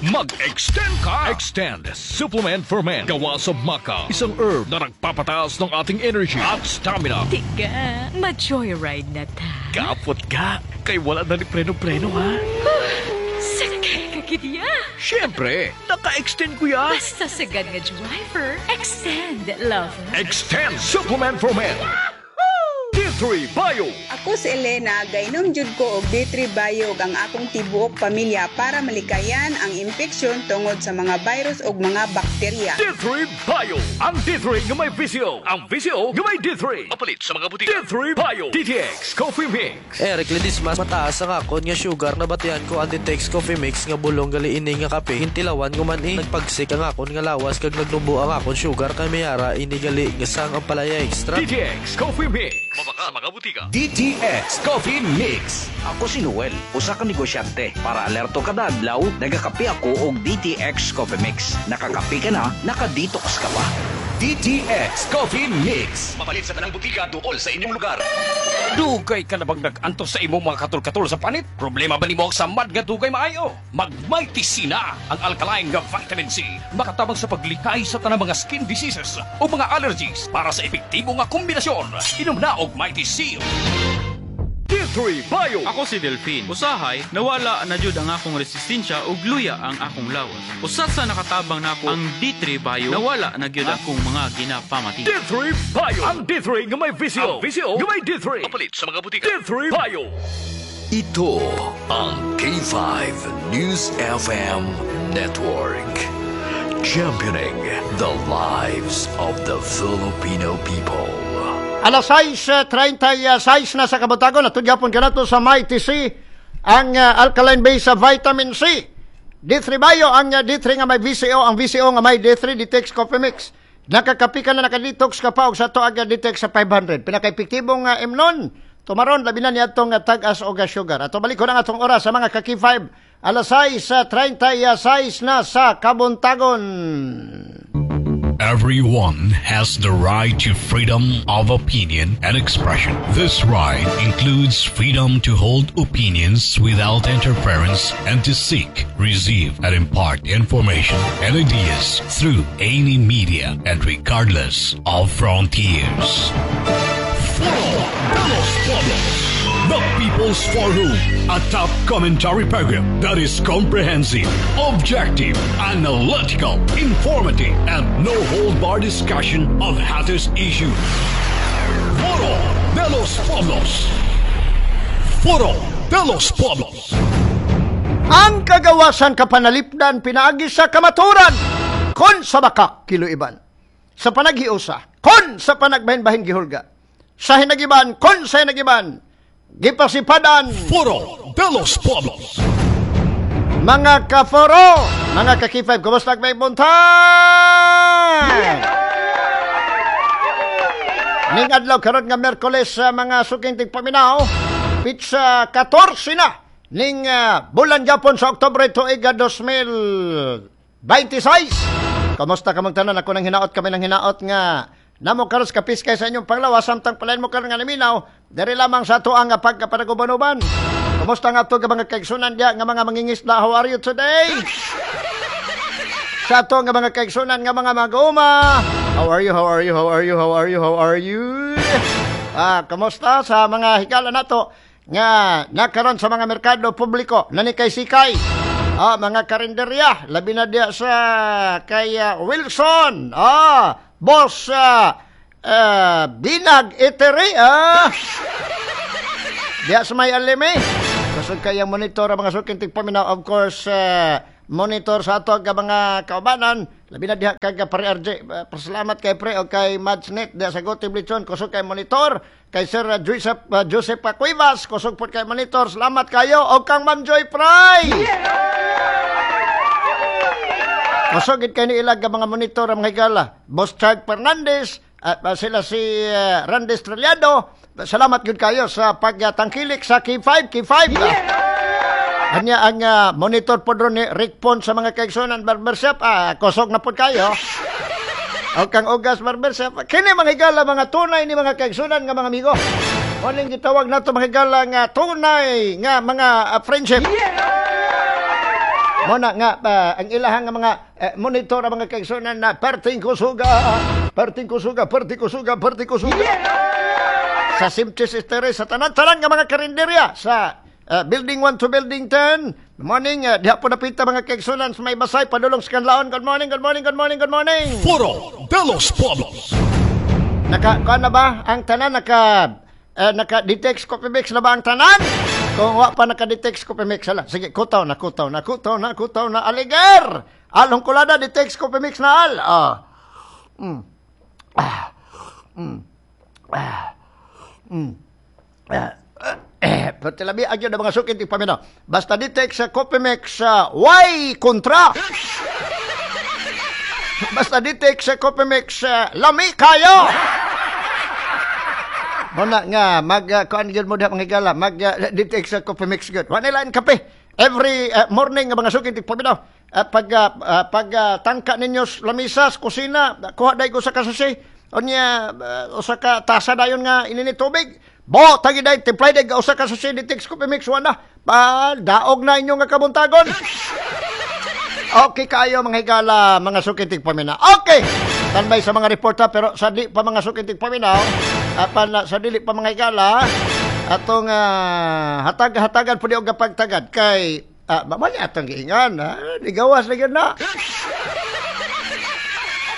Mag-extend ka! Extend Supplement for Men. Gawa sa maca. Isang herb na nagpapataas ng ating energy at stamina. Tiga, ma-joyride na ta. Kapot ka! Kay wala na ni preno-preno ha? Sakay ka gidya. Siyempre, naka-extend ko ya. Basta sagad nga driver, extend, lover. Extend Supplement for Men. D three Bio. Ako si Elena, gainom jud ko og D three Bio ug ang akong tibuok pamilya para malikayan ang impeksyon tungod sa mga virus ug mga bakterya. D three Bio. Ang D three nga may V C O. Ang V C O nga may D three. Mapalit sa mga butika. D three Bio. D T X Coffee Mix. Eric Ledesma, mataas ang akon nga sugar, nabatian ko ang D T X Coffee Mix nga bulong gali ini nga kape. Hintilawan ko man eh. Nagpagsik ang akon nga lawas kag nagnubo ang akon sugar kay mayara ini gali nga sang ampalaya extra. D T X Coffee Mix. Mabaka sa mga butika. D T X Coffee Mix. Ako si Noel, usa ka negosyante. Para alerto kada adlaw, nagakape ako og D T X Coffee Mix. Nakakape ka na, naka-detox ka pa. D T X Coffee Mix. Mapalit sa tanang butika duol sa inyong lugar. Dugay ka na bang nag-antos sa imong mga katol-katol sa panit? Problema ba nimo ang samad nga dugay maayo? Mag-Mighty C na ang alkaline nga vitamin C. Makatabang sa paglikay sa tanang mga skin diseases o mga allergies para sa epektibo nga kombinasyon. Inom na og Mighty C. D three Bio. Ako si Delphine. Usahay, nawala na jud ang akong resistensya ug luya ang akong lawas. Usa sa nakatabang nako ang D three Bio, nawala na gyud akong mga ginapamati. D three Bio. Ang D three nga may V C O. Ang V C O nga may D three. Mapalit sa mga butika. D three Bio. Ito ang K five News F M Network. Championing the lives of the Filipino people. Alas sais trentay sais na sa kabuntagon, natudya pon kanato sa Mighty C. Ang uh, alkaline base sa vitamin C. D three Bio, ang uh, D three nga may V C O, ang V C O nga may D three, D T X Coffee Mix. Nakakapi ka na, nakadetox ka pa og sa ato ang D T X sa five hundred. Pinaka-epektibong uh, imnon. Tumaron, labi na niya atong uh, tag-as og sugar. Ato balik ko na atong oras sa mga ka-K five. Alas sais sa trenta y sais na sa kabuntagon. Everyone has the right to freedom of opinion and expression. This right includes freedom to hold opinions without interference and to seek, receive, and impart information and ideas through any media and regardless of frontiers. Foro de los Pueblos. The People's Forum, a top commentary program that is comprehensive, objective, analytical, informative, and no hold bar discussion of hottest issues. Foro de los Pueblos. Foro de los Pueblos. Ang kagawasan kapanalipdan pinaagi sa kamaturan kon sa bakak kiluiban. Sa panaghiusa kon sa panagbahin-bahin gihulga. Sa hinagiban kon sa hinagiban gipasipadan. Foro de los Pueblos. Mga kaforo, mga ka-K five, kumusta may buntag? Ning adlaw karon nga Miyerkules sa mga suking tigpaminaw, petsa katorse na ning uh, bulan Japon sa Oktubre tuig dalawang libo dalawampu't limang. Kamusta kamong tanan? Ako nang hinaot, kami nang hinaot nga namo karos kapiskay sa inyong panglawas samtang palain mo karon nga naminaw diri lamang sa ato ang pagkapanaguban-uban. Kumusta nga ato nga mga kaigsunan diya nga mga mangingisda? How are you today? Sa ato nga mga kaigsunan nga mga mag-uma. How are you? How are you? How are you? How are you? How are you? Ah, kamusta sa mga higala nato nga nakaron sa mga merkado publiko nanikay-sikay? Ah, mga karinderya, labi na diya sa kay uh, Wilson. Ah, boss uh, uh, Binag Eatery, ah. Diya sa may alime. Kusog kayang monitor ang mga suking tigpaminaw. Of course, uh, monitor sa ato ang mga kaubanan. Labi na diha kag Pare R J. Uh, pasalamat kay Pre o kay Madsnet diha sa Gote Blichon. Kusog kay monitor. Kay Sir uh, Joseph, uh, Joseph Cuevas. Kusog po kay monitor. Salamat kayo. O kang Ma'am Joy Fry. Kusog kay ni ilag ang mga monitor ang mga higala. Boss Chad Fernandez, at uh, sila si uh, Randy Estrellado. Salamat gyud kayo sa pagtangkilik sa K five, K five. Yeah! Anya ang uh, monitor po ni Rick Pon sa mga kaigsunan barbershop. Ah, kusog na po kayo. O kang Ugas Barbershop. Kini mga higala, mga tunay ni mga kaigsunan nga mga amigo. Muning gitawag nato mga higala nga tunay nga mga uh, friendship. Yeah! Muna nga uh, ang ilahang nga mga uh, monitor ang mga kaigsunan na perting kusuga, perting kusuga, perting kusuga, perting kusuga. Yeah! Sa Simches Estere, sa tanan-tanan nga mga karinderya sa uh, Building one to Building ten. Good morning, uh, diha po napita mga kaigsunan sa may basay, padulong sa Kanlaon. Good morning, good morning, good morning, good morning. Foro de los Pueblos. Naka, kuan na ba ang tanan? Naka, uh, naka D T X Coffee Mix na ba ang tanan? Kung wa pa naka D T X Coffee Mix, hala. Sige, kutaw na, kutaw na, kutaw na, kutaw na, aliger! Along kulada, D T X Coffee Mix na al. Ah. Mm. Ah. Mm. Ah. Mm. Ah. Eh, pero labi agyo na mga sukit paminaw. Basta D T X sa Coffee Mix, uh, why kontra? Basta D T X sa Coffee Mix, uh, lami kayo! Muna nga, mag, uh, kuan gyud mo diha mga higala, mag uh, D T X sa Coffee Mix gyud. Wa nila kape. Every uh, morning nga mga sukit paminaw. Uh, pag uh, uh, pag uh, tangka ninyo sa lamisa sa kusina, kuha day ko sa kasasi. Unya uh, usa ka tasa dayon nga inini tubig. Bo, tagi day, timplay day, usa ka sachet D T X Coffee Mix wala. Pa, daog na inyong nga kabuntagon. Okay kayo mga higala, mga sukitig paminaw. Okay! Tanbay sa mga reporter, pero sa di pa mga sukitig paminaw, apan sa dili pa mga higala, atong uh, hatag-hatagan po di og pagtagad kay uh, mamaya atong giingan, ha? Nigawas na gyud na.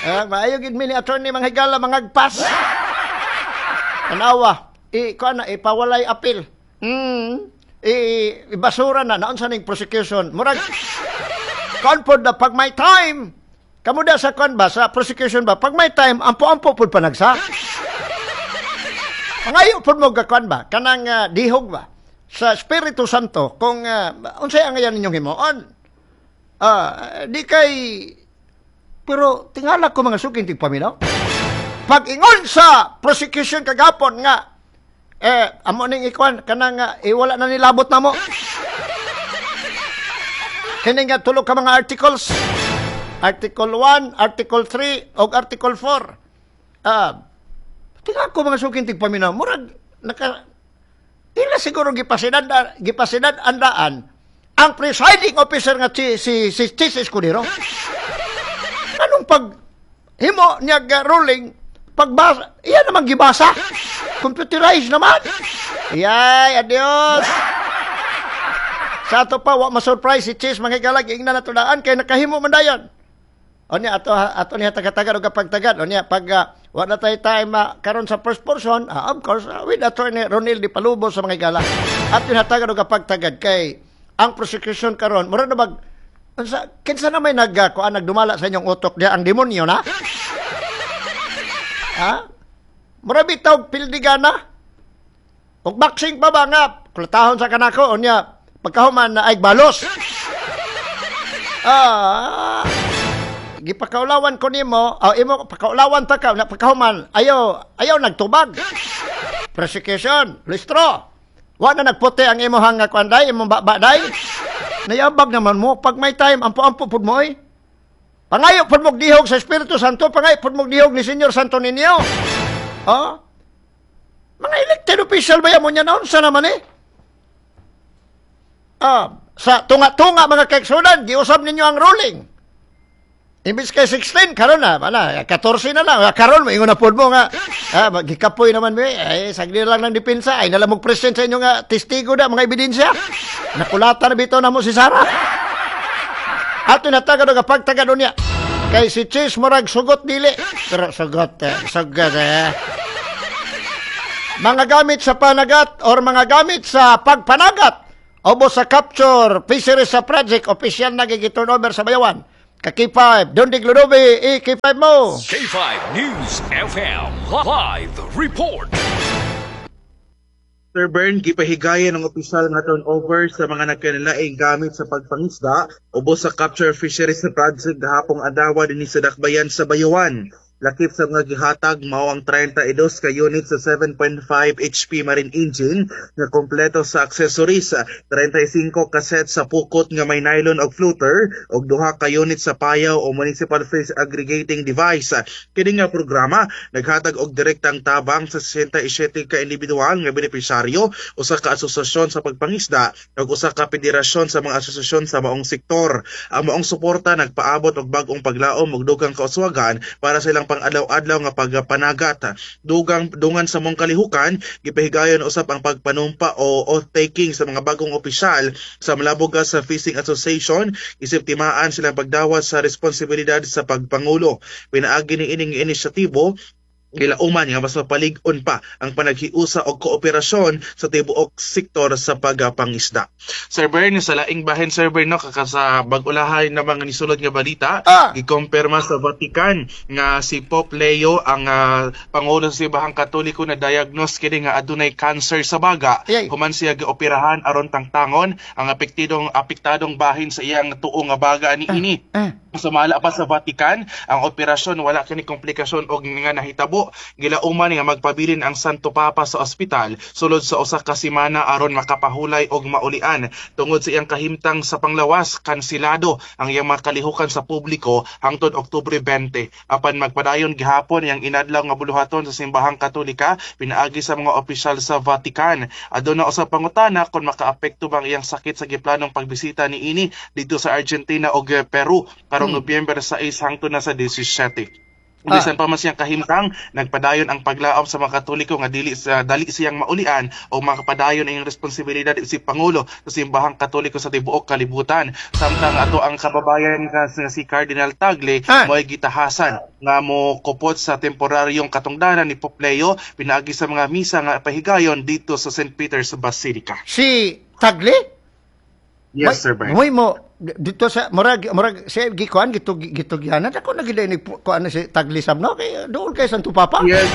Uh, maayo gid mi ni attorney mga higala mga agpas. Tanawa, i kuan na ipawalay appeal. Mm, i ibasura na naunsa ning prosecution. Murag kuan pod na pag may time. Kamo da sa kuan ba sa prosecution ba pag may time ampo-ampo pod panagsa. Mangayo pod mo ga kuan ba kanang uh, dihog ba. sa Espiritu Santo kung uh, unsay ang ngayon ninyong himuon. Uh, di kay pero tingala ko mga suking tigpaminaw. Pag ingon sa prosecution kagapon nga eh amo ning ikuan kanang uh, iwala na nilabot na mo. Kini nga tulo ka mga articles. Article one, Article three ug Article four. Ah, uh, tingala ko mga suking tigpaminaw, murag naka ila siguro gipasinad gipasinad andaan ang presiding officer nga si si si Chiz Escudero. Anong pag himo niya ruling pagbasa, iya naman gibasa. Computerized naman. Yay, adios. Sa ato pa wa ma-surprise si Chiz mga higala, giingnan na tudaan kay nakahimo man dayon. O niya ato ato niya tagatagad og pagtagad. O niya pag uh, wa na tay time uh, karon sa first portion, uh, of course uh, with Attorney Ronel Di Palubo sa mga higala. Ato hatagad og pagtagad kay ang prosecution karon mura na bag unsa kinsa na may nag uh, kuan nagdumala sa inyong utok diha ang demonyo na? Ha? Mura bitaw pildigana. Og boxing pa ba nga kulatahon sa kanako unya pagkahuman na ay balos. Ah, gipakaulawan ko nimo, oh, imo pakaulawan ta ka na pagkahuman ayo ayo nagtubag. Prosecution, listro. Wa na nagputi ang imong kuan day, imong baba day. Nayabag naman mo pag may time ampo-ampo pud mo oy. Pangayo pud mo dihog sa Espiritu Santo, pangayo pud mo dihog ni Señor Santo Niño. Oh? Mga elected official ba mo niya naon sa naman eh? Ah, sa tunga-tunga mga kaiksunan, giusab ninyo ang ruling. Imbis kay sixteen, karon na, wala, fourteen na lang. Karon, maingon na po mo nga. Ah, gikapoy naman, eh, ay, sagli lang ng depensa. Ay, nalamog present sa inyo nga, testigo na, mga ebidensya. Nakulata na bito na mo si Sara. Ato natagad o kapagtagad niya. Kay si Chiz murag sugot dili. Pero sugot, eh, sugot, eh. Mga gamit sa panagat or mga gamit sa pagpanagat obo sa capture fisheries sa project, official na gigiturn over sa Bayawan. Ka K five, Don Digludobi, e K five mo. K five News F M Live Report. Sir Bern, gipahigayon ang opisyal nga turnover sa mga nagkanalaing gamit sa pagpangisda ubos sa capture fisheries na project gahapong adlaw dinhi sa Dakbayan sa Bayawan. Lakip sa mga gihatag mao ang thirty-two ka unit sa seven point five H P marine engine nga kompleto sa accessories, thirty-five ka set sa pukot nga may nylon og floater ug duha ka unit sa payaw o municipal fish aggregating device. Kini nga programa naghatag og direktang tabang sa sixty-seven ka individual nga benepisyaryo, usa ka asosasyon sa pagpangisda ug usa ka federasyon sa mga asosasyon sa maong sektor. Ang maong suporta nagpaabot og bag-ong paglaom ug dugang kauswagan para sa ilang pang-adlaw-adlaw nga pagpanagat. Dugang dungan sa mong kalihukan, gipahigayon usab ang pagpanumpa o oath-taking sa mga bagong opisyal sa Malabuga sa Fishing Association, isip timaan silang pagdawat sa responsibilidad sa pagpangulo. Pinaagi ni ining inisyatibo gilauman nga mas mapalig-on pa ang panaghiusa og kooperasyon sa tibuok sektor sa pagpangisda. Sir Bern, sa laing bahin Sir Bern, no, kaka sa bag-ulahay na mga nisulod nga balita, ah! gikompirma sa Vatican nga si Pope Leo ang uh, pangulo sa Simbahang Katoliko na diagnose kini nga adunay cancer sa baga. Ayay. Human siya gioperahan aron tangtangon ang apektidong apektadong bahin sa iyang tuo nga baga niini. Ah. Ah. Sumala pa sa Vatican, ang operasyon wala kini komplikasyon og nga nahitabo. Gilauman nga magpabilin ang Santo Papa sa ospital sulod sa usa ka semana aron makapahulay og maulian. Tungod sa iyang kahimtang sa panglawas, kansilado ang iyang makalihukan sa publiko hangtod Oktubre twenty. Apan magpadayon gihapon iyang inadlaw nga buluhaton sa Simbahang Katolika pinaagi sa mga opisyal sa Vatican. Aduna usa pangutana kung makaapekto bang iyang sakit sa giplanong pagbisita niini didto sa Argentina og Peru karong hmm. Nobyembre sais hangtod na sa seventeen. Bisan pa man siyang kahimtang, nagpadayon ang paglaom sa mga Katoliko nga dili sa dali siyang maulian o makapadayon ang responsibilidad si Pangulo sa Simbahang Katoliko sa tibuok kalibutan. Samtang ato ang kababayan nga si Cardinal Tagle ah. mo'y gitahasan nga mo kupot sa temporaryong katungdanan ni Pope Leo pinaagi sa mga misa nga pahigayon dito sa Saint Peter's Basilica. Si Tagle? Yes, Sir Bern. Moy mo dito sa murag murag siya gikuan gitu gitugyanan ako nagilay ni kuan si Tagle sab no kay dool kay Santo Papa. Yes.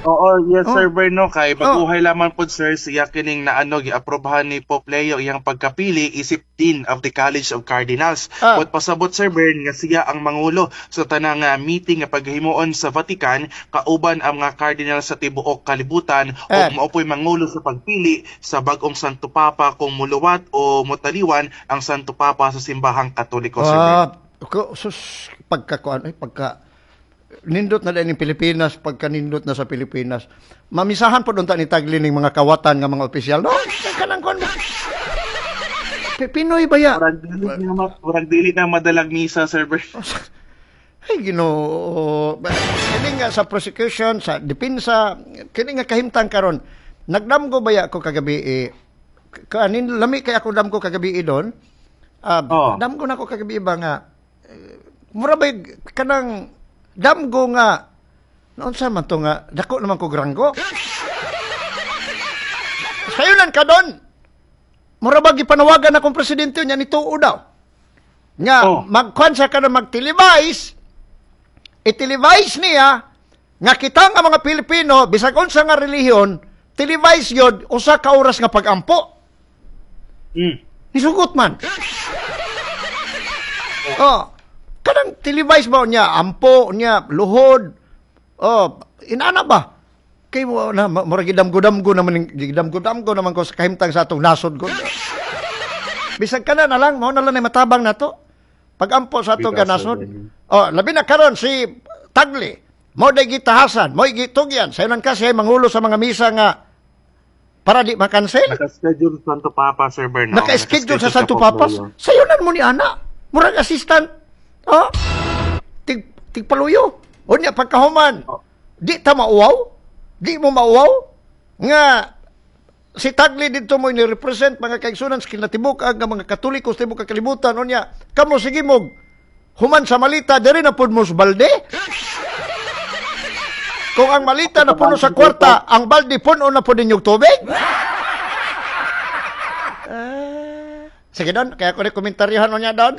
Oo, yes Oh. Sir Berno, kay baguhay lamang po sir siya kining naano giaprobahan ni Pope Leo iyang pagkapili isip Dean of the College of Cardinals. Ah. But pasabot Sir Bern nga siya ang mangulo sa tanang ah, meeting nga paghimuon sa Vatican kauban ang mga cardinal sa tibuok kalibutan Eh. ug mao po'y mangulo sa pagpili sa bag-ong Santo Papa kung muluwat o mutaliwan ang Santo Papa sa simbahang Katoliko, Sir Bern. Ah, ko sus pagka kuan ay pagka nindot na din yung Pilipinas, pagka nindot na sa Pilipinas. Mamisahan po doon ta ni Tagle ning mga kawatan nga mga opisyal. No, kanang kuan. Pi- Pinoy ba ya? Murag dili na ma- murag dili na madalag misa, Sir Bern. Ay, Ginoo. Kini nga sa prosecution, sa depensa, kini nga kahimtang karon. Nagdamgo ba ya ko kagabi eh, kanin lami kay ako damgo kagabi eh, doon. Ah, damgo na ko kagabi ba nga eh, mura ba kanang damgo nga noon sa man to nga dako naman ko granggo. Sayunan ka doon. Mura ba gipanawagan akong presidente niya ni tuo daw. Nga oh. Magkuan siya ka na mag-televise, i-televise niya nga kita nga mga Pilipino bisag unsa nga relihiyon, televise yod usa ka oras nga pagampo. Mm. Nisugot man. Oh, kanang televise ba niya ampo niya luhod. Oh, inana ba? Kay mo na ma- murag gidamgo-damgo naman gidamgo-damgo naman ko sa kahimtang sa atong nasod ko. Bisag kana na lang mao na lang ay matabang nato. Pagampo sa atong Bitaw, sir ganasod. Bernie. Oh, labi na karon si Tagle. Mo day gitahasan, mo gitugyan. Sayonan ka siya mangulo sa mga misa nga para di makansel. Naka-schedule sa Santo Papa, Sir Bern. no? Naka-schedule sa Naka-schedule Santo Pope Papa. Leo. Sayonan mo ni ana. Murag assistant. Oh. Tig tigpaluyo. Unya pagkahuman. Di ta mauwaw. Di mo mauwaw nga si Tagle didto mo ni-represent mga kaigsunan sa kinatibuk ang mga Katoliko sa tibok kalibutan unya kamo sige mo human sa malita diri na pud mo sa balde. Kung ang malita na puno sa kwarta, ang balde puno na pud ninyong tubig. Ah, sige Don, kaya ko ni komentaryohan mo niya Don.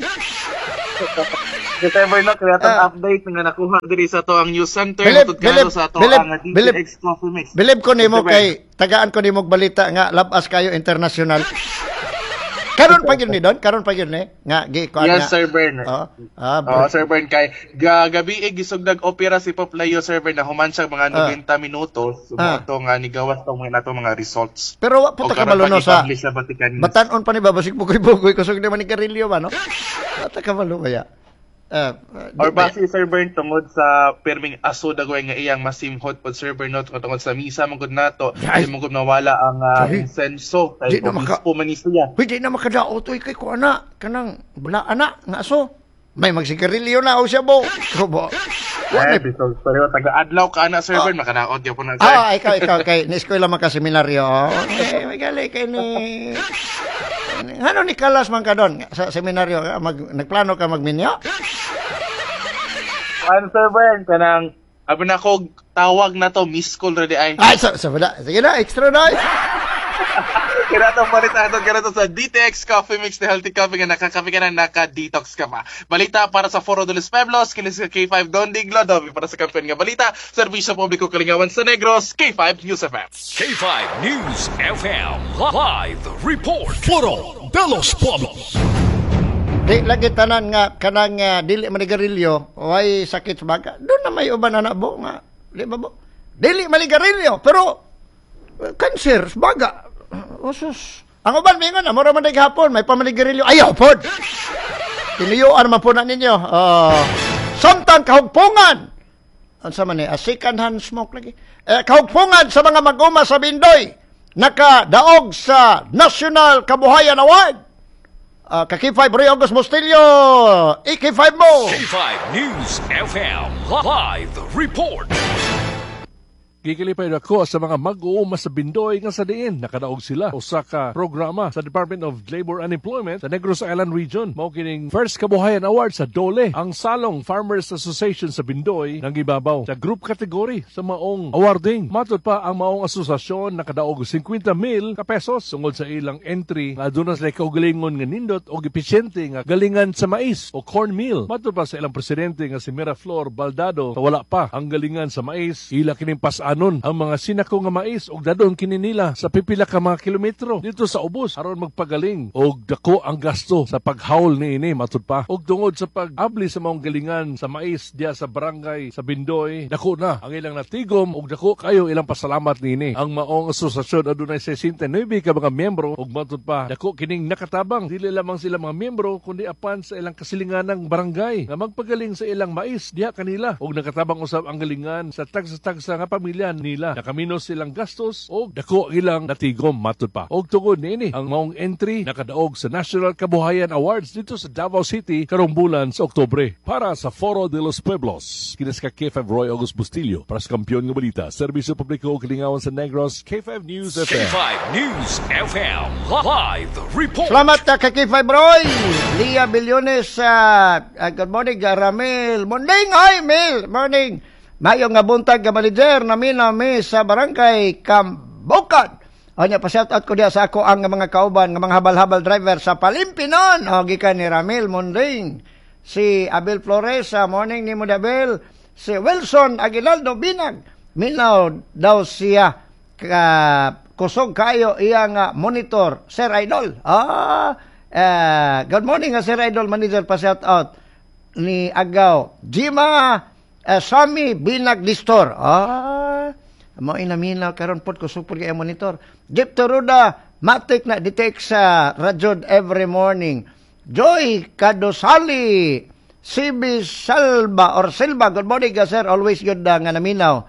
If ever na, kaya itong update nga nakuha diri sa to ang news center, Bilib, matod bilib, kato sa to bilib, ang bilib. D T X Coffee Mix. Bilib ko nimo Sir Bern. kay tagaan ko nimo og balita nga labas kayo international. Karon pa gyud ni Don, karon pa gyud ni nga gi kuan Yes, nga. Sir Bern. Oh, ah, Oh, Sir Bern, kay ga, gabi eh, gisugdag opera si Pope Leo, Sir Bern, na human siya mga Ah. ninety minutos, Ah. ah. nga nigawas tong mga nato mga results. Pero wa po O ta karon kabalo no pa sa i-publish sa Vatican News. Batan-on pa ni babasig bugoy-bugoy kusog naman ni Carillo ba no? Wa ta kabalo kaya. Ah, ah, Or di ba- base Sir Bern tungod sa pirming aso dagoy nga iyang masimhot pod Sir Bern no tungod sa misa man gud nato Ay. di man gud nawala ang uh, Ay. insenso Di kay na maka- obispo man ni siya. Uy, di na makadaot oy kay kuan na kanang bala ana nga aso. May magsigarilyo na o siya bo. Ko Eh, bisag pareho taga adlaw ka ana Sir Bern makanaot gyapon na sir. Ah, ikaw, ikaw, kay ni-eskwela man ka seminaryo. Eh, may gali kay ni... Ano ni Kalas man ka doon sa seminaryo? Mag, nagplano ka magminyo? Kuan Sir Bern kanang abi na ko tawag na to miss call ra di ay. Ay, sa, sa wala. Sige na, extra na. Kaya itong balita ito, kaya ito sa D T X Coffee Mix, the healthy coffee nga nakakape ka na, naka-detox ka pa. Balita para sa Foro de los Pueblos, kinis ka K five Don Diglo, Dobby para sa kampiyon nga balita, Serbisyo Publiko Kalingawan sa Negros, K five News F M. K five News F M Live Report. Foro de los Pueblos. Di lagi tanan nga kanang uh, dili manigarilyo, way sakit sa baga. Doon na may uban na bo nga. Di ba bo? Dili manigarilyo, pero uh, cancer sa baga. Usus. Ang uban mingon na mura man day gihapon, may pamanigarilyo. Ayaw pod. Tinuyuan man po na ninyo. Uh, samtang kahugpungan. Unsa man ni? A second hand smoke lagi. Eh, kahugpungan sa mga mag-uma sa Bindoy nakadaog sa National Kabuhayan Award. Uh, ka K five Roy August Mostillo, E K five mo. K five News F M Live Report. Gikilipay ako sa mga mag-uuma sa Bindoy nga sa diin nakadaog sila usa ka programa sa Department of Labor and Employment sa Negros Island Region. Mao kining First Kabuhayan Award sa Dole. Ang Salong Farmers Association sa Bindoy nang gibabaw sa group category sa maong awarding. Matod pa ang maong asosasyon nakadaog fifty mil ka pesos sungod sa ilang entry nga aduna sila kaugalingon nga nindot og episyente nga galingan sa mais o corn meal. Matod pa sa ilang presidente nga si Miraflor Baldado sa wala pa ang galingan sa mais ila kining pas-anon daanon ang mga sinako nga mais og dadon kini nila sa pipila ka mga kilometro dito sa ubos aron magpagaling og dako ang gasto sa paghawl niini matud pa. Og tungod sa pag-abli sa maong galingan sa mais diya sa barangay sa Bindoy, dako na ang ilang natigom og dako kayo ilang pasalamat niini. Ang maong asosasyon adunay sesenta y nuebe ka mga miyembro og matud pa dako kining nakatabang dili lamang sila mga miyembro kundi apan sa ilang kasilinganang barangay nga magpagaling sa ilang mais diha kanila og nakatabang usab ang galingan sa tagsa-tagsa nga pamilya nila. Nakaminos silang gastos og dako ilang natigom matud pa. Og tungod niini ang maong entry nakadaog sa National Kabuhayan Awards dito sa Davao City karong bulan sa Oktubre. Para sa Foro de los Pueblos, kinas ka K five Roy August Bustillo para sa Kampiyon nga Balita, Serbisyo Publiko ug Kalingawan sa Negros, K five News F M. K five News F M Live Report. Salamat ka kay K five Roy. Lia Billones, uh, uh, good morning, Ramil. Morning, hi, Mil. Morning. Mayo nga buntag nga manager namin nami sa barangay Kambukan. O nya, pa-shout out ko diya sa ako ang mga kauban nga mga habal-habal driver sa Palimpinon. O gikan ni Ramil Munding. Si Abel Flores, uh, morning ni mo Abel. Si Wilson Aguinaldo Binag. Minaw daw siya ka kusog kayo iyang uh, monitor, Sir Idol. Ah, uh, good morning, uh, Sir Idol manager, pa shout out ni Agaw. Jima uh, Sami Binag Distor. Ah, mao inaminaw karon pod kusog pod kay monitor. Jeep Toruda matik na detect sa radyo every morning. Joy Kadosali C B Salva or Silva, good morning ka sir, always good uh, nga naminaw.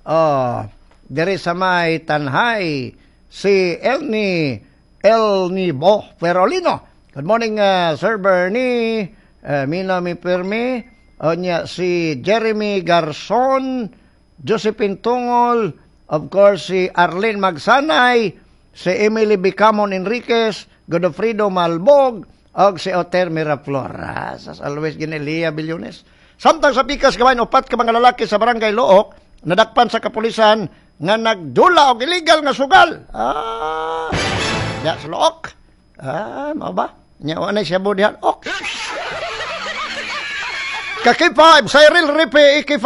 Oh, diri sa may Tanhay, si Elni Elni Bo Ferolino. Good morning, uh, Sir Bernie. Uh, Mina mi Permi. Onya si Jeremy Garson, Josephine Tungol, of course si Arlene Magsanay, si Emily Bicamon Enriquez, Godofredo Malbog, og si Oter Miraflor. As always, Ginelia Billones. Samtang sa pikas gawain, upat ka mga lalaki sa barangay Look, nadakpan sa kapulisan nga nagdula og illegal nga sugal. Ah, diya sa Look. Ah, mao ba? Nya wa na siya diha. Ok. Ka K five, Cyril Ripe, K five.